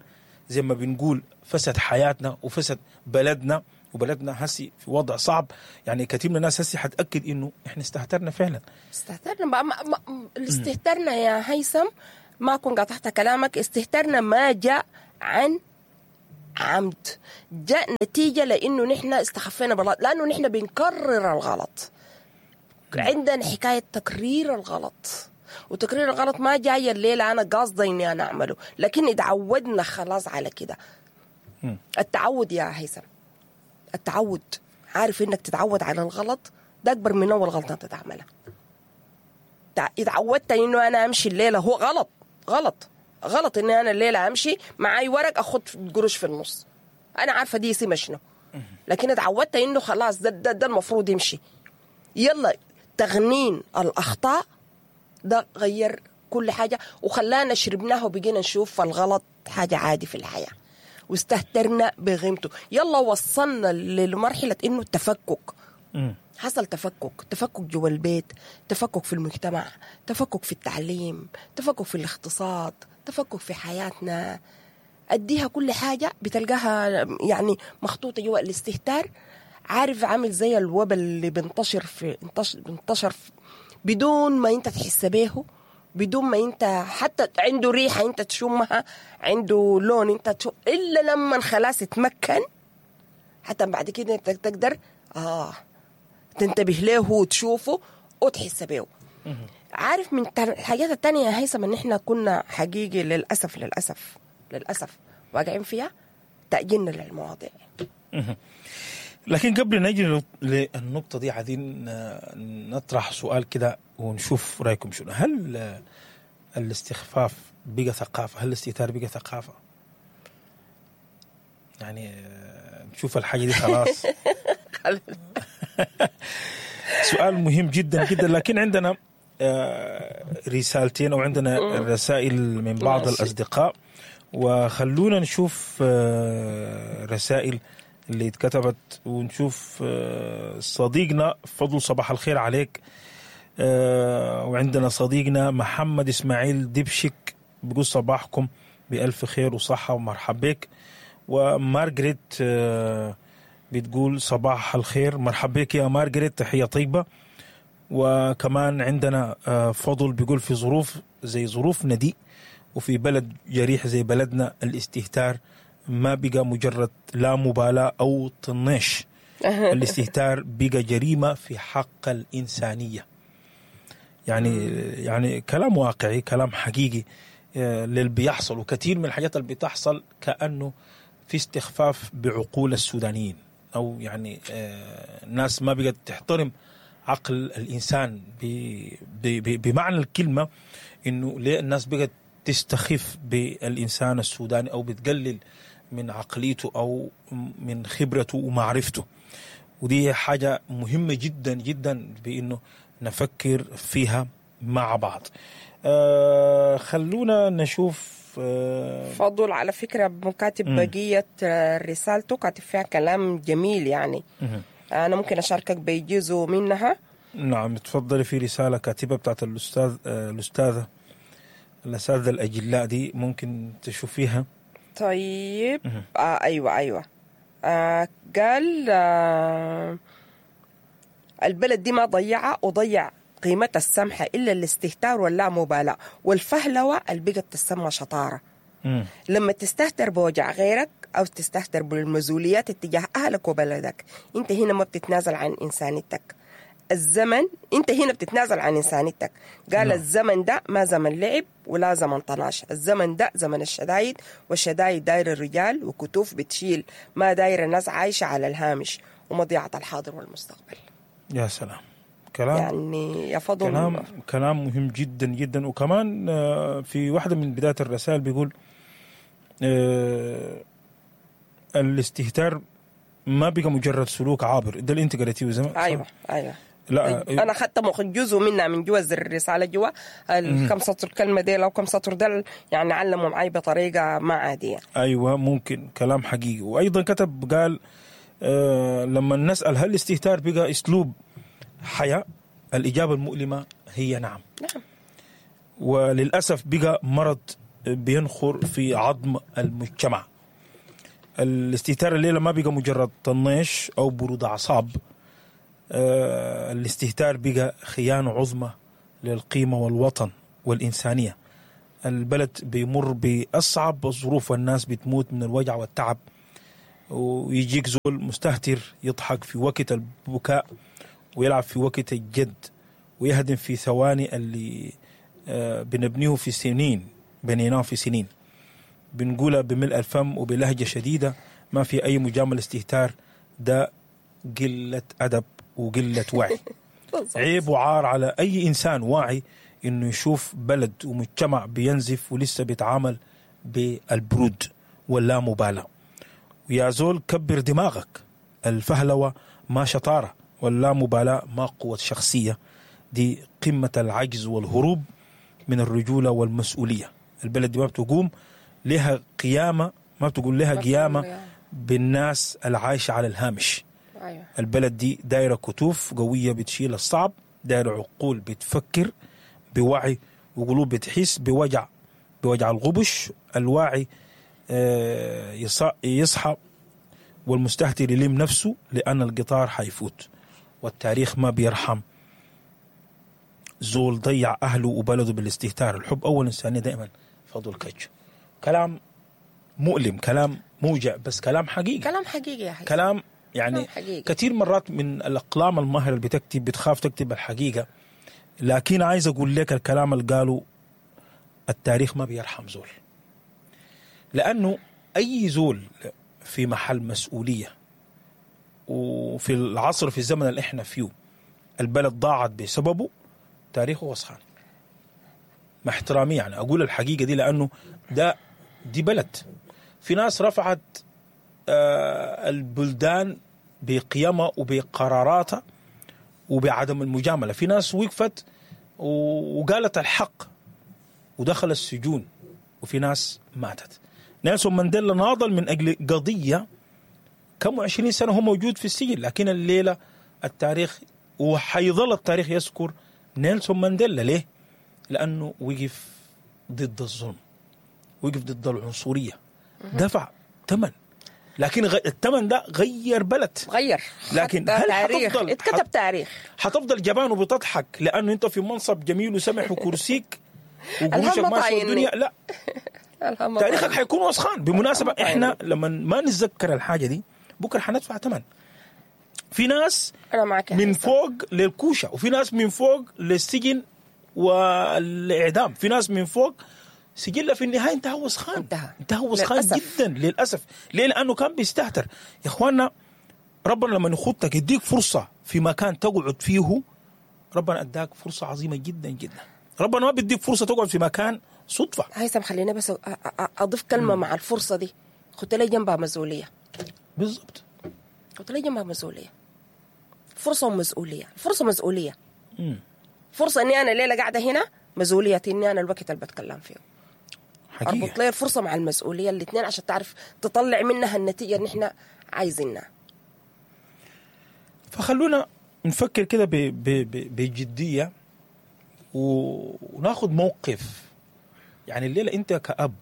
Speaker 2: زي ما بنقول، فسد حياتنا وفسد بلدنا، وبلدنا هسي في وضع صعب. يعني كثير من الناس هسي حتأكد انه احنا استهترنا فعلا.
Speaker 1: استهترنا استهترنا يا هيثم، ما كن قطعت كلامك. استهترنا ما جاء عن عمد، جاء نتيجة لأنه نحن استخفينا بالغلط، لأنه نحن بنكرر الغلط. عندنا حكاية تكرير الغلط، وتكرير الغلط ما جاي الليلة أنا قاصدة إني أنا أعمله، لكن اتعودنا خلاص على كده. التعود يا هيثم، التعود، عارف إنك تتعود على الغلط ده أكبر من أول غلطة أنت تعملها. اتعودت إنه أنا أمشي الليلة، هو غلط غلط غلط إني أنا الليلة أمشي معاي ورق أخد قروش في النص، أنا عارفة دي اسمها شنو، لكن اتعودت إنه خلاص ده المفروض يمشي. يلا تغنين الأخطاء ده غير كل حاجة، وخلانا شربناه وبقينا نشوف الغلط حاجة عادي في الحياة، واستهترنا بغيمته. يلا وصلنا لمرحلة إنه التفكك حصل، تفكك، تفكك جوا البيت، تفكك في المجتمع، تفكك في التعليم، تفكك في الاقتصاد، تفكك في حياتنا. أديها كل حاجة بتلقاها يعني مخطوطة جوا الاستهتار. عارف عامل زي الوباء اللي بنتشر في انتشر في بدون ما انت تحس بيه، بدون ما انت حتى عنده ريحة انت تشمها، عنده لون انت تشم، إلا لما خلاص تمكن، حتى بعد كده انت تقدر تنتبه له وتشوفه وتحس بيه. عارف من الحاجات التانية يا هيثم ان احنا كنا حقيقي للأسف للأسف للأسف واقعين فيها تأجيلنا للمواضيع.
Speaker 2: لكن قبل نجي للنقطة دي عايزين نطرح سؤال كده ونشوف رأيكم شنو. هل الاستخفاف بقى ثقافة؟ هل الاستهتار بقى ثقافة؟ يعني نشوف الحاجة دي خلاص. سؤال مهم جدا جدا. لكن عندنا رسالتين أو عندنا رسائل من بعض الأصدقاء، وخلونا نشوف رسائل اللي اتكتبت ونشوف. صديقنا فضل صباح الخير عليك. وعندنا صديقنا محمد إسماعيل دبشك بيقول صباحكم بألف خير وصحة ومرحب بك. ومارغريت بتقول صباح الخير، مرحب بك يا مارغريت، تحية طيبة. وكمان عندنا فضل بيقول في ظروف زي ظروفنا دي وفي بلد جريح زي بلدنا الاستهتار ما بقى مجرد لا مبالاة أو طناش، الاستهتار بقى جريمة في حق الإنسانية. يعني كلام واقعي، كلام حقيقي للي بيحصل، وكثير من الحاجات اللي بتحصل كأنه في استخفاف بعقول السودانيين، أو يعني ناس ما بقت تحترم عقل الإنسان بمعنى الكلمة. إنه ليه الناس بقت تستخف بالإنسان السوداني أو بتقلل من عقليته أو من خبرته ومعرفته؟ ودي حاجة مهمة جدا جدا بإنه نفكر فيها مع بعض. خلونا نشوف.
Speaker 1: فضل على فكرة كاتب بقية رسالته، كاتب فيها كلام جميل يعني. أنا ممكن أشاركك بجزء منها.
Speaker 2: نعم تفضلي. في رسالة كاتبة بتاعت الأستاذة الأساتذة الأجلاء دي، ممكن تشوفيها.
Speaker 1: طيب. أيوة. قال البلد دي ما ضيعة وضيع قيمة السمحة إلا الاستهتار واللا مبالاة والفهلوة اللي بقت تسمى شطارة. لما تستهتر بوجع غيرك أو تستهتر بالمزوليات اتجاه أهلك وبلدك، أنت هنا ما بتتنازل عن إنسانيتك. الزمن أنت هنا بتتنازل عن إنسانيتك. قال الزمن ده ما زمن لعب ولا زمن طناش، الزمن ده زمن الشدايد، والشدايد داير الرجال وكتوف بتشيل، ما داير الناس عايشة على الهامش ومضيعة الحاضر والمستقبل.
Speaker 2: يا سلام، كلام
Speaker 1: يعني يا فضل،
Speaker 2: كلام مهم جدا جدا. وكمان في واحدة من بداية الرسائل بيقول الاستهتار ما بقى مجرد سلوك عابر. ده اللي انت قريتيه زمان؟
Speaker 1: ايوه. لا انا اخذت جزء منها من جوا الرسالة، جوا الكم سطر كلمة دي لو كم سطر ده يعني علموا معي بطريقة ما عادية.
Speaker 2: ايوه ممكن كلام حقيقي. وايضا كتب قال لما نسال هل الاستهتار بقى اسلوب حياة، الاجابة المؤلمة هي نعم. نعم. وللاسف بقى مرض بينخر في عظم المجتمع. الاستهتار الليلة ما بقى مجرد طنيش أو برود أعصاب، الاستهتار بقى خيانة عظمى للقيمة والوطن والإنسانية. البلد بيمر بأصعب الظروف والناس بتموت من الوجع والتعب، ويجيك زول مستهتر يضحك في وقت البكاء ويلعب في وقت الجد ويهدم في ثواني اللي بنبنيه في سنين، بنيناه في سنين. بنقولها بملء الفم وبلهجة شديدة، ما في أي مجاملة. استهتار ده قلة أدب وقلة وعي. عيب وعار على أي إنسان واعي إنه يشوف بلد ومجتمع بينزف ولسه بيتعامل بالبرود واللا مبالاة. ويا زول كبر دماغك، الفهلوة ما شطارة واللا مبالاة ما قوة شخصية، دي قمة العجز والهروب من الرجولة والمسؤولية. البلد دي ما بتقوم لها قيامة، ما بتقول لها قيامة بالناس العايشة على الهامش. أيوة. البلد دي دايرة كتوف قوية بتشيل الصعب، دايرة عقول بتفكر بوعي وقلوب بتحس بوجع الغبش. الواعي يصحى والمستهتر يلم نفسه، لأن القطار حيفوت والتاريخ ما بيرحم زول ضيع أهله وبلده بالاستهتار. الحب أول إنسانية دائما. فضل كج. كلام مؤلم، كلام موجع، بس كلام حقيقي.
Speaker 1: كلام حقيقي يا حقيقي.
Speaker 2: كلام يعني حقيقي. كثير مرات من الأقلام الماهرة اللي بتكتب بتخاف تكتب الحقيقة، لكن عايز أقول لك الكلام اللي قاله التاريخ ما بيرحم زول، لأنه أي زول في محل مسؤولية وفي العصر في الزمن اللي احنا فيه البلد ضاعت بسببه، تاريخه وسخان. مع احترامي يعني أقول الحقيقة دي، لأنه ده دي بلد في ناس رفعت البلدان بقيمها وبقراراتها وبعدم المجاملة، في ناس وقفت وقالت الحق ودخل السجون، وفي ناس ماتت. نيلسون مانديلا ناضل من أجل قضية كم 20 سنة هو موجود في السجن، لكن الليلة التاريخ وحيظل التاريخ يذكر نيلسون مانديلا. ليه؟ لأنه وقف ضد الظلم، وقف ضد العنصرية، دفع ثمن، لكن الثمن ده غير بلد،
Speaker 1: غير.
Speaker 2: لكن هل حتفضل
Speaker 1: اتكتب تاريخ؟
Speaker 2: حتفضل جبان وبتضحك لأنه أنت في منصب جميل وسمح وكرسيك وقروشك ماشية الدنيا؟ لا، تاريخك حيكون وسخان. بمناسبة إحنا لما ما نتذكر الحاجة دي بكرة حندفع ثمن. في ناس من فوق للكوشة، وفي ناس من فوق للسجن والإعدام، في ناس من فوق سجلة في النهاية انتهى وسخان، انتهى وسخان جدا للأسف. ليه؟ لأنه كان بيستهتر. يا إخواننا، ربنا لما يخطك يديك فرصة في مكان تقعد فيه، ربنا أداك فرصة عظيمة جدا جدا. ربنا ما بيديك فرصة تقعد في مكان صدفة.
Speaker 1: هيثم خلينا بس أضيف كلمة مع الفرصة دي، خدت لي جنبها مسؤولية.
Speaker 2: بالضبط،
Speaker 1: خدت لي جنبها مسؤولية. فرصة ومسؤولية. الفرصة مسؤولية. فرصة إني أنا الليلة قاعدة هنا، مسؤولية إني أنا الوقت اللي بتكلم فيه.
Speaker 2: حقيقة.
Speaker 1: أربط لي الفرصة مع المسؤولية الاثنين عشان تعرف تطلع منها النتيجة اللي إحنا عايزينها.
Speaker 2: فخلونا نفكر كده بجدية وناخد موقف. يعني الليلة أنت كأب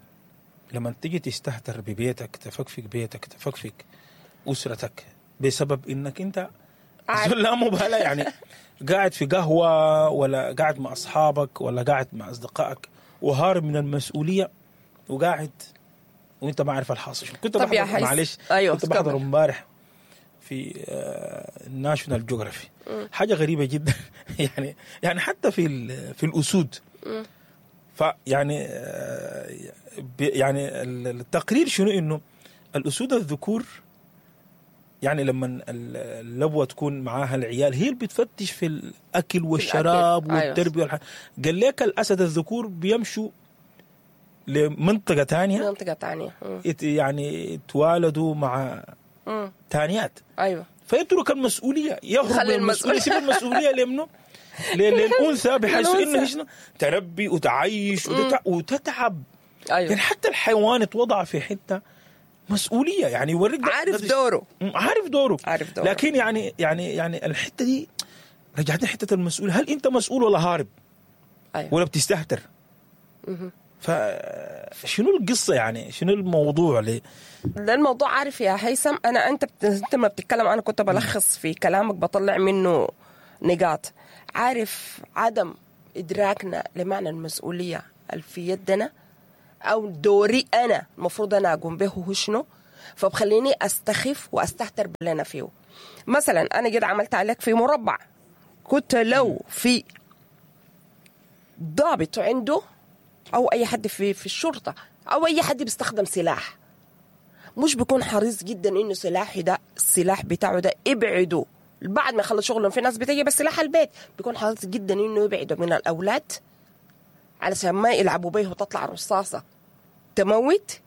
Speaker 2: لما تيجي تستهتر ببيتك، تفكفك بيتك، تفكفك أسرتك بسبب إنك أنت لا مبالاة، يعني قاعد في قهوة ولا قاعد مع أصحابك ولا قاعد مع أصدقائك وهارب من المسؤولية وقاعد وانت ما عارف الحاصل. كنت بحضر، معلش، أيوة، كنت بحضر امبارح في ناشونال جيوغرافي حاجة غريبة جدا. يعني حتى في الأسود، فيعني يعني التقرير شنو، انه الأسود الذكور يعني لما اللبوة تكون معاها العيال هي اللي بتفتش في الأكل والشراب والتربية. أيوة. قال لك الأسد الذكور بيمشوا لمنطقة تانية،
Speaker 1: منطقة تانية،
Speaker 2: يعني توالدوا مع تانيات.
Speaker 1: أيوة.
Speaker 2: فيترك المسؤولية، يهرب من المسؤولية، يسيب المسؤولية لمنه؟ للأنثى، بحيث إنه تربي وتعيش وتتعب. أيوة. يعني حتى الحيوان اتوضع في حتة مسؤولية، يعني يوريك
Speaker 1: عارف دوره،
Speaker 2: عارف دوره، عارف دوره. لكن يعني يعني يعني الحتة دي رجعتني حتة المسؤول. هل أنت مسؤول ولا هارب؟
Speaker 1: أيوة.
Speaker 2: ولا بتستهتر؟ فشنو القصة يعني؟ شنو الموضوع ليه؟
Speaker 1: ده الموضوع عارف يا هيثم، انا انت ما بتتكلم، انا كنت بلخص في كلامك بطلع منه نقاط. عارف عدم ادراكنا لمعنى المسؤولية اللي في يدنا او دوري انا المفروض انا اقوم به هو شنو، فبخليني استخف واستهتر باللي انا فيه. مثلا انا جيت عملت عليك في مربع، كنت لو في ضابط عنده او اي حد في الشرطة او اي حد بيستخدم سلاح، مش بيكون حريص جدا انه سلاحي ده، السلاح بتاعه ده ابعده بعد ما يخلص شغله. في ناس بتجي بس سلاح البيت، بيكون حريص جدا انه يبعده من الاولاد علشان ما يلعبوا بيه وتطلع رصاصة تموت.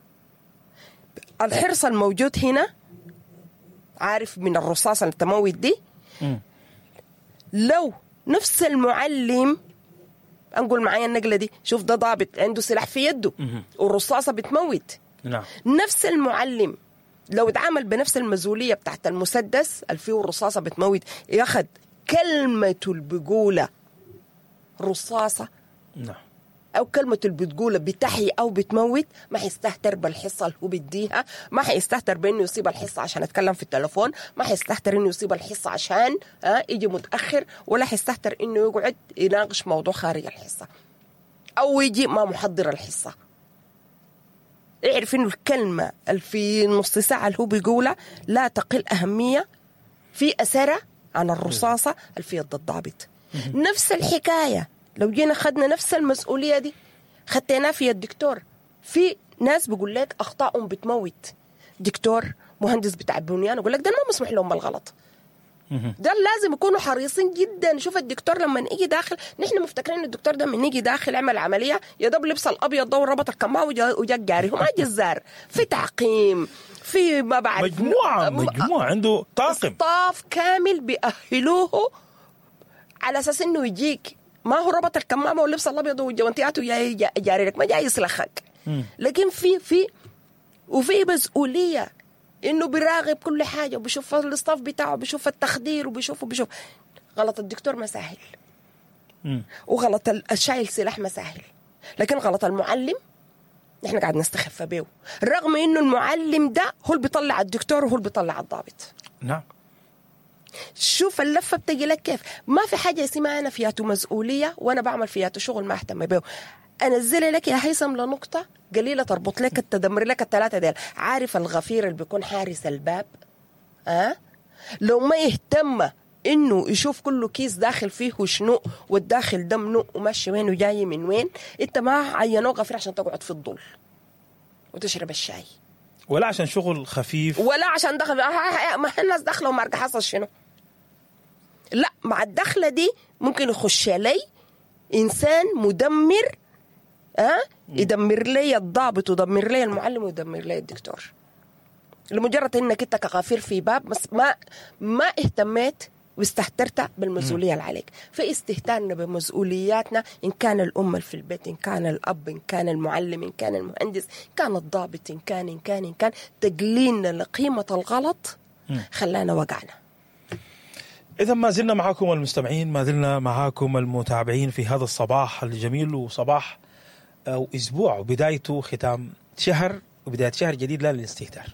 Speaker 1: الحرص الموجود هنا عارف من الرصاصة اللي تموت دي، لو نفس المعلم انقل معايا النقلة دي، شوف ده ضابط عنده سلاح في يده والرصاصه بتموت.
Speaker 2: نعم.
Speaker 1: نفس المعلم لو اتعامل بنفس المزولية بتاعت المسدس اللي فيه الرصاصة بتموت، ياخد كلمته اللي بيقولها رصاصة،
Speaker 2: نعم،
Speaker 1: أو كلمته اللي بتقولها بتحيي أو بتموت، ما حيستهتر بالحصة اللي هو بيديها، ما حيستهتر بإنه يصيب الحصة عشان يتكلم في التلفون، ما حيستهتر إنه يصيب الحصة عشان يجي متأخر، ولا حيستهتر إنه يقعد يناقش موضوع خارج الحصة أو يجي ما محضر الحصة. اعرف إنه الكلمة اللي في نص ساعة اللي هو بيقولها لا تقل أهمية في أثرها عن الرصاصة اللي في يد الضابط. نفس الحكاية لو جينا خدنا نفس المسؤولية دي خدتناها في الدكتور. في ناس بيقول لك أخطائهم بتموت، دكتور، مهندس بتاع البنيان، يقول لك ده ما مسموح لهم بالغلط، ده لازم يكونوا حريصين جدا. شوف الدكتور لما يجي داخل، نحن مفتكرين ان الدكتور ده من يجي داخل عمل عملية يا دوب لبس الابيض ده وربط الكمامة وجا جاري، هو ما جزار، في تعقيم، في ما بعرف
Speaker 2: مجموعة عنده طاقم،
Speaker 1: staff كامل بيأهلوه على اساس انه يجيك، ما هو ربط الكمامة واللبس الابيض وجوانتياته جاي جاري لك، ما جاي يسلخك. لكن في وفي مسؤولية انه بيراقب كل حاجة، وبيشوف ال staff بتاعه، بيشوف التخدير، وبيشوف غلط الدكتور ما سهل، وغلط الشايل سلاح ما سهل، لكن غلط المعلم نحن قاعد نستخف بيه، رغم انه المعلم ده هو اللي بيطلع الدكتور وهو اللي بيطلع الضابط.
Speaker 2: نعم.
Speaker 1: شوف اللفة بتجي لك كيف. ما في حاجة اسمها انا فياتو مسؤولية وانا بعمل فياتو شغل ما اهتم بيه. انزل لك يا هيثم لنقطة قليله تربط لك تدمر لك الثلاثة ديل. عارف الغفير اللي بيكون حارس الباب، لو ما يهتم انه يشوف كله كيس داخل فيه وشنو والداخل ده منو وماشي وين وجاي من وين، انت ما عينوه غفير عشان تقعد في الظل وتشرب الشاي،
Speaker 2: ولا عشان شغل خفيف،
Speaker 1: ولا عشان دخل ما الناس داخله وما حصل شنو. لا، مع الدخلة دي ممكن يخش لي انسان مدمر، يدمر لي الضابط ويدمر لي المعلم ويدمر لي الدكتور، لمجرد انك انت كغفير في باب بس ما اهتميت واستهترت بالمسؤولية اللي عليك. في استهتارنا بمسؤولياتنا، ان كان الام في البيت، ان كان الاب، ان كان المعلم، ان كان المهندس، ان كان الضابط، ان كان ان كان ان كان تقليلنا لقيمة الغلط خلانا وقعنا.
Speaker 2: إذا ما زلنا معاكم المستمعين، ما زلنا معاكم المتابعين في هذا الصباح الجميل، وصباح أو أسبوع وبدايته ختام شهر وبداية شهر جديد لا للاستهتار.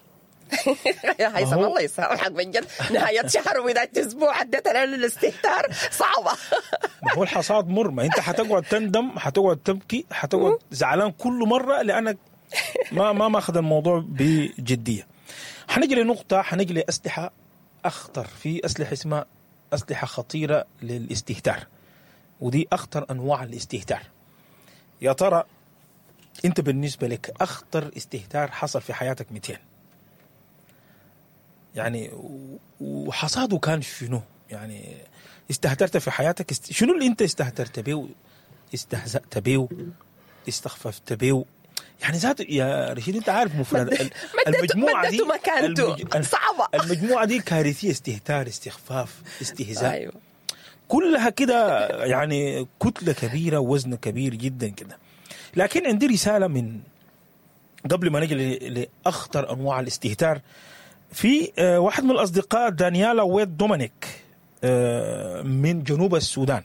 Speaker 1: يا هيثم الله يسامحك بجد، نهاية شهر وبداية أسبوع عدتها للاستهتار صعبة.
Speaker 2: ما هو الحصاد مر، ما أنت حتقعد تندم، حتقعد تبكي، حتقعد زعلان كل مرة لأنك ما ماخذ الموضوع بجدية. حنجي لنقطة، حنجي لأسلحة أخطر، في أسلحة اسمها أسلحة خطيرة للاستهتار، ودي أخطر أنواع الاستهتار. يا ترى أنت بالنسبة لك أخطر استهتار حصل في حياتك 200؟ يعني وحصاده كان شنو؟ يعني استهترت في حياتك، شنو اللي أنت استهترت به، استهزأت به، استخففت به؟ يعني ذات يا رشيد انت عارف مفرد المجموعة دي
Speaker 1: صعبة،
Speaker 2: المجموعة دي كارثية، استهتار، استخفاف، استهزاء. أيوة. كلها كده يعني كتلة كبيرة ووزن كبير جدا كده. لكن عندي رسالة من قبل ما نجي لاخطر انواع الاستهتار، في واحد من الاصدقاء دانيالا ويد دومينيك من جنوب السودان،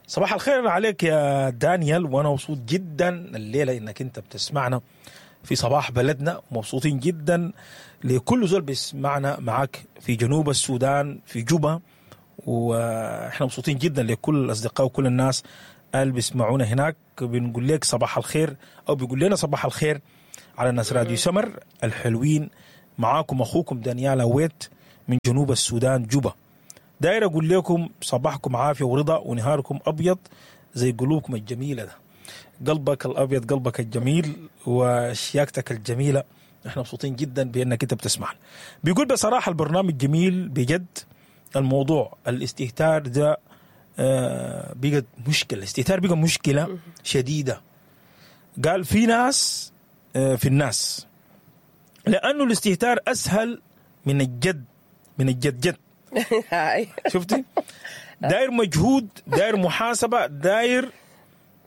Speaker 2: صباح الخير عليك يا دانيال، وانا مبسوط جدا الليلة انك انت بتسمعنا في صباح بلدنا، مبسوطين جدا لكل زول بيسمعنا معاك في جنوب السودان في جوبا، واحنا مبسوطين جدا لكل الاصدقاء وكل الناس اللي بيسمعونا هناك. بنقول لك صباح الخير، او بيقول لنا صباح الخير على ناس راديو سمر الحلوين. معاكم اخوكم دانيال ويت من جنوب السودان جوبا. داير اقول لكم صباحكم عافية ورضا ونهاركم ابيض زي قلوبكم الجميلة ده. قلبك الابيض، قلبك الجميل، وشياكتك الجميلة. احنا مبسوطين جدا بانك انت بتسمعنا. بيقول بصراحة البرنامج جميل بجد. الموضوع الاستهتار ده بقت مشكلة، الاستهتار بقى مشكلة شديدة. قال في ناس في الناس، لانه الاستهتار اسهل من الجد، من الجد جد. شفتي؟ داير مجهود، داير محاسبه، داير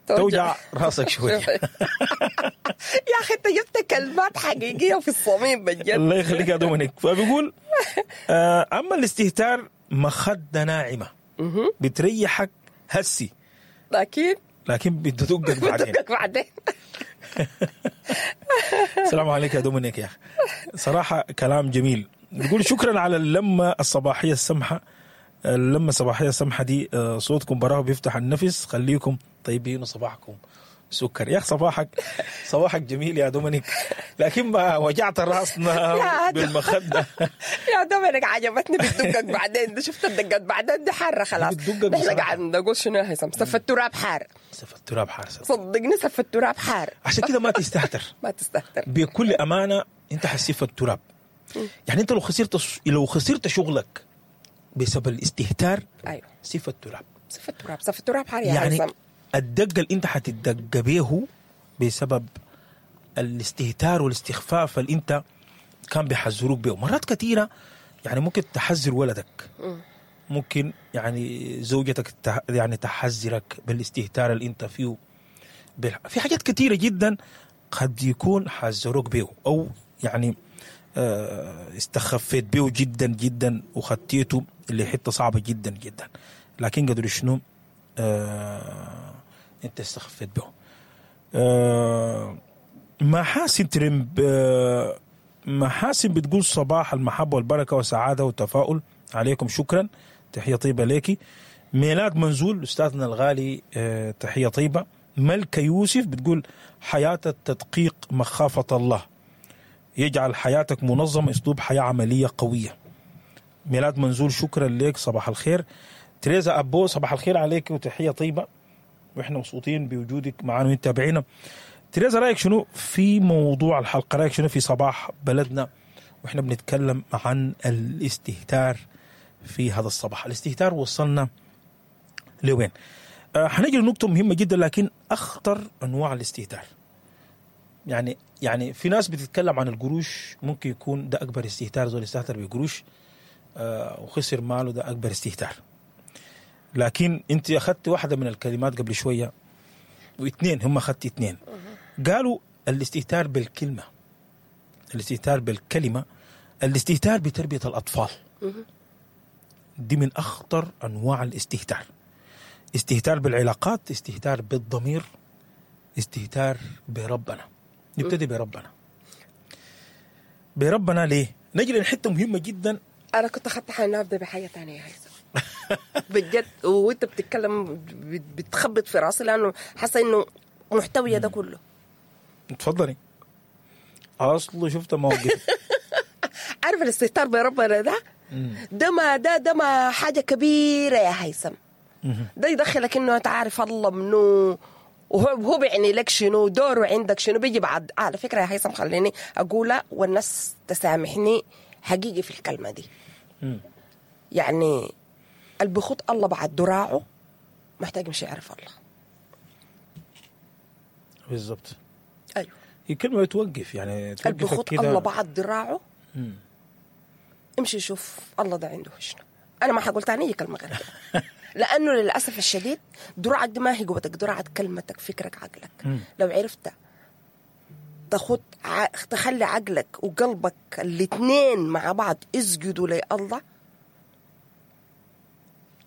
Speaker 2: توجع راسك شوية.
Speaker 1: يا اخي انت جبت كلمات حقيقية في الصميم بجد.
Speaker 2: الله يخليك يا دومينيك. فبيقول اما الاستهتار مخده ناعمة بتريحك هسي، لكن بتدقك بعدين.
Speaker 1: بتدقك بعدين.
Speaker 2: السلام عليك يا دومينيك يا اخي، صراحة كلام جميل. بيقول شكرا على اللمة الصباحية السمحة، اللمة الصباحية السمحة دي، صوتكم براه بيفتح النفس، خليكم طيبين وصباحكم سكر. يا اخي صباحك جميل يا دومينيك، لكن ما وجعت راسنا بالمخده.
Speaker 1: يا دومينيك عجبتني بتدقك بعدين، شفت الدقات بعدين دي حارة خلاص. نحن قاعد نقول شنو يا هيثم؟ سف التراب حار،
Speaker 2: سف التراب حار،
Speaker 1: صدقني سف التراب حار.
Speaker 2: عشان كده ما تستهتر،
Speaker 1: ما تستهتر
Speaker 2: بكل امانه. انت حسيف التراب، يعني انت لو خسرت شغلك بسبب الاستهتار،
Speaker 1: ايوه
Speaker 2: سف التراب،
Speaker 1: سف التراب، سف التراب حار يا
Speaker 2: يعني
Speaker 1: هيثم.
Speaker 2: الدقة اللي انت حتدق بيه بسبب الاستهتار والاستخفاف اللي انت كان بيحذروك بيه مرات كثيرة. يعني ممكن تحذر ولدك، ممكن يعني زوجتك يعني تحذرك بالاستهتار اللي انت فيه. في حاجات كثيرة جدا قد يكون حذروك بيه، او يعني استخفيت بيه جدا جدا وخطيته اللي حتة صعبة جدا جدا، لكن قدر شنو انت استخفيت به. محاسن ترمب، محاسن بتقول صباح المحبة والبركة والسعادة والتفاؤل عليكم، شكرا، تحية طيبة ليكي. ميلاد منزول أستاذنا الغالي، تحية طيبة. ملكة يوسف بتقول حياة التدقيق مخافة الله، يجعل حياتك منظمة، أسلوب حياة عملية قوية. ميلاد منزول شكرا لك، صباح الخير. تريزا أبو صباح الخير عليك وتحية طيبة، وإحنا مبسوطين بوجودك معنا وتابعينا. تريزا رأيك شنو في موضوع الحلقة؟ رأيك شنو في صباح بلدنا وإحنا بنتكلم عن الاستهتار في هذا الصباح؟ الاستهتار وصلنا لوين؟ حنجي لنقطة مهمة جدا، لكن أخطر أنواع الاستهتار. يعني في ناس بتتكلم عن القروش، ممكن يكون ده أكبر استهتار، زول استهتر بقروش وخسر ماله، ده أكبر استهتار. لكن انت اخذت واحدة من الكلمات قبل شوية، واثنين هم اخذت اثنين، قالوا الاستهتار بالكلمة، الاستهتار بالكلمة، الاستهتار بتربيه الاطفال. دي من اخطر انواع الاستهتار. استهتار بالعلاقات، استهتار بالضمير، استهتار بربنا. نبتدي بربنا. بربنا ليه؟ نجي لحته مهمة جدا.
Speaker 1: انا كنت اخذت حالي ابدا بحاجة ثانية يا هيثم بجد، وانت بتتكلم بتخبط في راسي لانه حاسه انه محتويه ده كله.
Speaker 2: اتفضلي. اصله شفت موقف.
Speaker 1: عارف الاستهتار بربنا ده ده ما ده ما حاجة كبيرة يا هيثم. ده يدخلك انه انت عارف الله منو، وهو بيعني لك شنو، دوره عندك شنو، بيجي بعد. على فكرة يا هيثم خليني اقولها والناس تسامحني حقيقي في الكلمة دي. يعني اللي بخط الله بعد دراعه محتاج مش يعرف الله
Speaker 2: بالضبط.
Speaker 1: ايوه،
Speaker 2: هي كلمة بتوقف، يعني
Speaker 1: اللي بخط الله بعد دراعه امشي شوف الله ده عنده شنو. انا ما حقول تاني اي كلمة غير كده، لانه للاسف الشديد دراعك دي ما هي قوتك، دراعك كلمتك، فكرك، عقلك. لو عرفت تاخد تخلي عقلك وقلبك الاثنين مع بعض اسجدوا لله،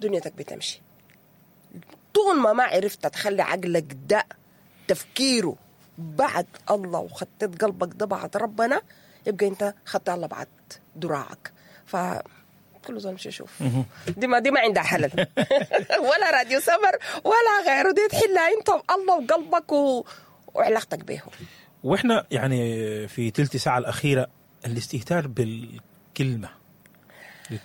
Speaker 1: دنيتك بتمشي. طول ما عرفت تخلي عقلك ده تفكيره بعد الله، وخطيت قلبك ده بعد ربنا، يبقى انت خدت الله بعد دراعك. ف كل زول مش يشوف دي ما عندها حلل ولا راديو سمر ولا غيره، دي تحلها انت الله وقلبك وعلاقتك به.
Speaker 2: واحنا يعني في تلت ساعة الأخيرة الاستهتار بالكلمة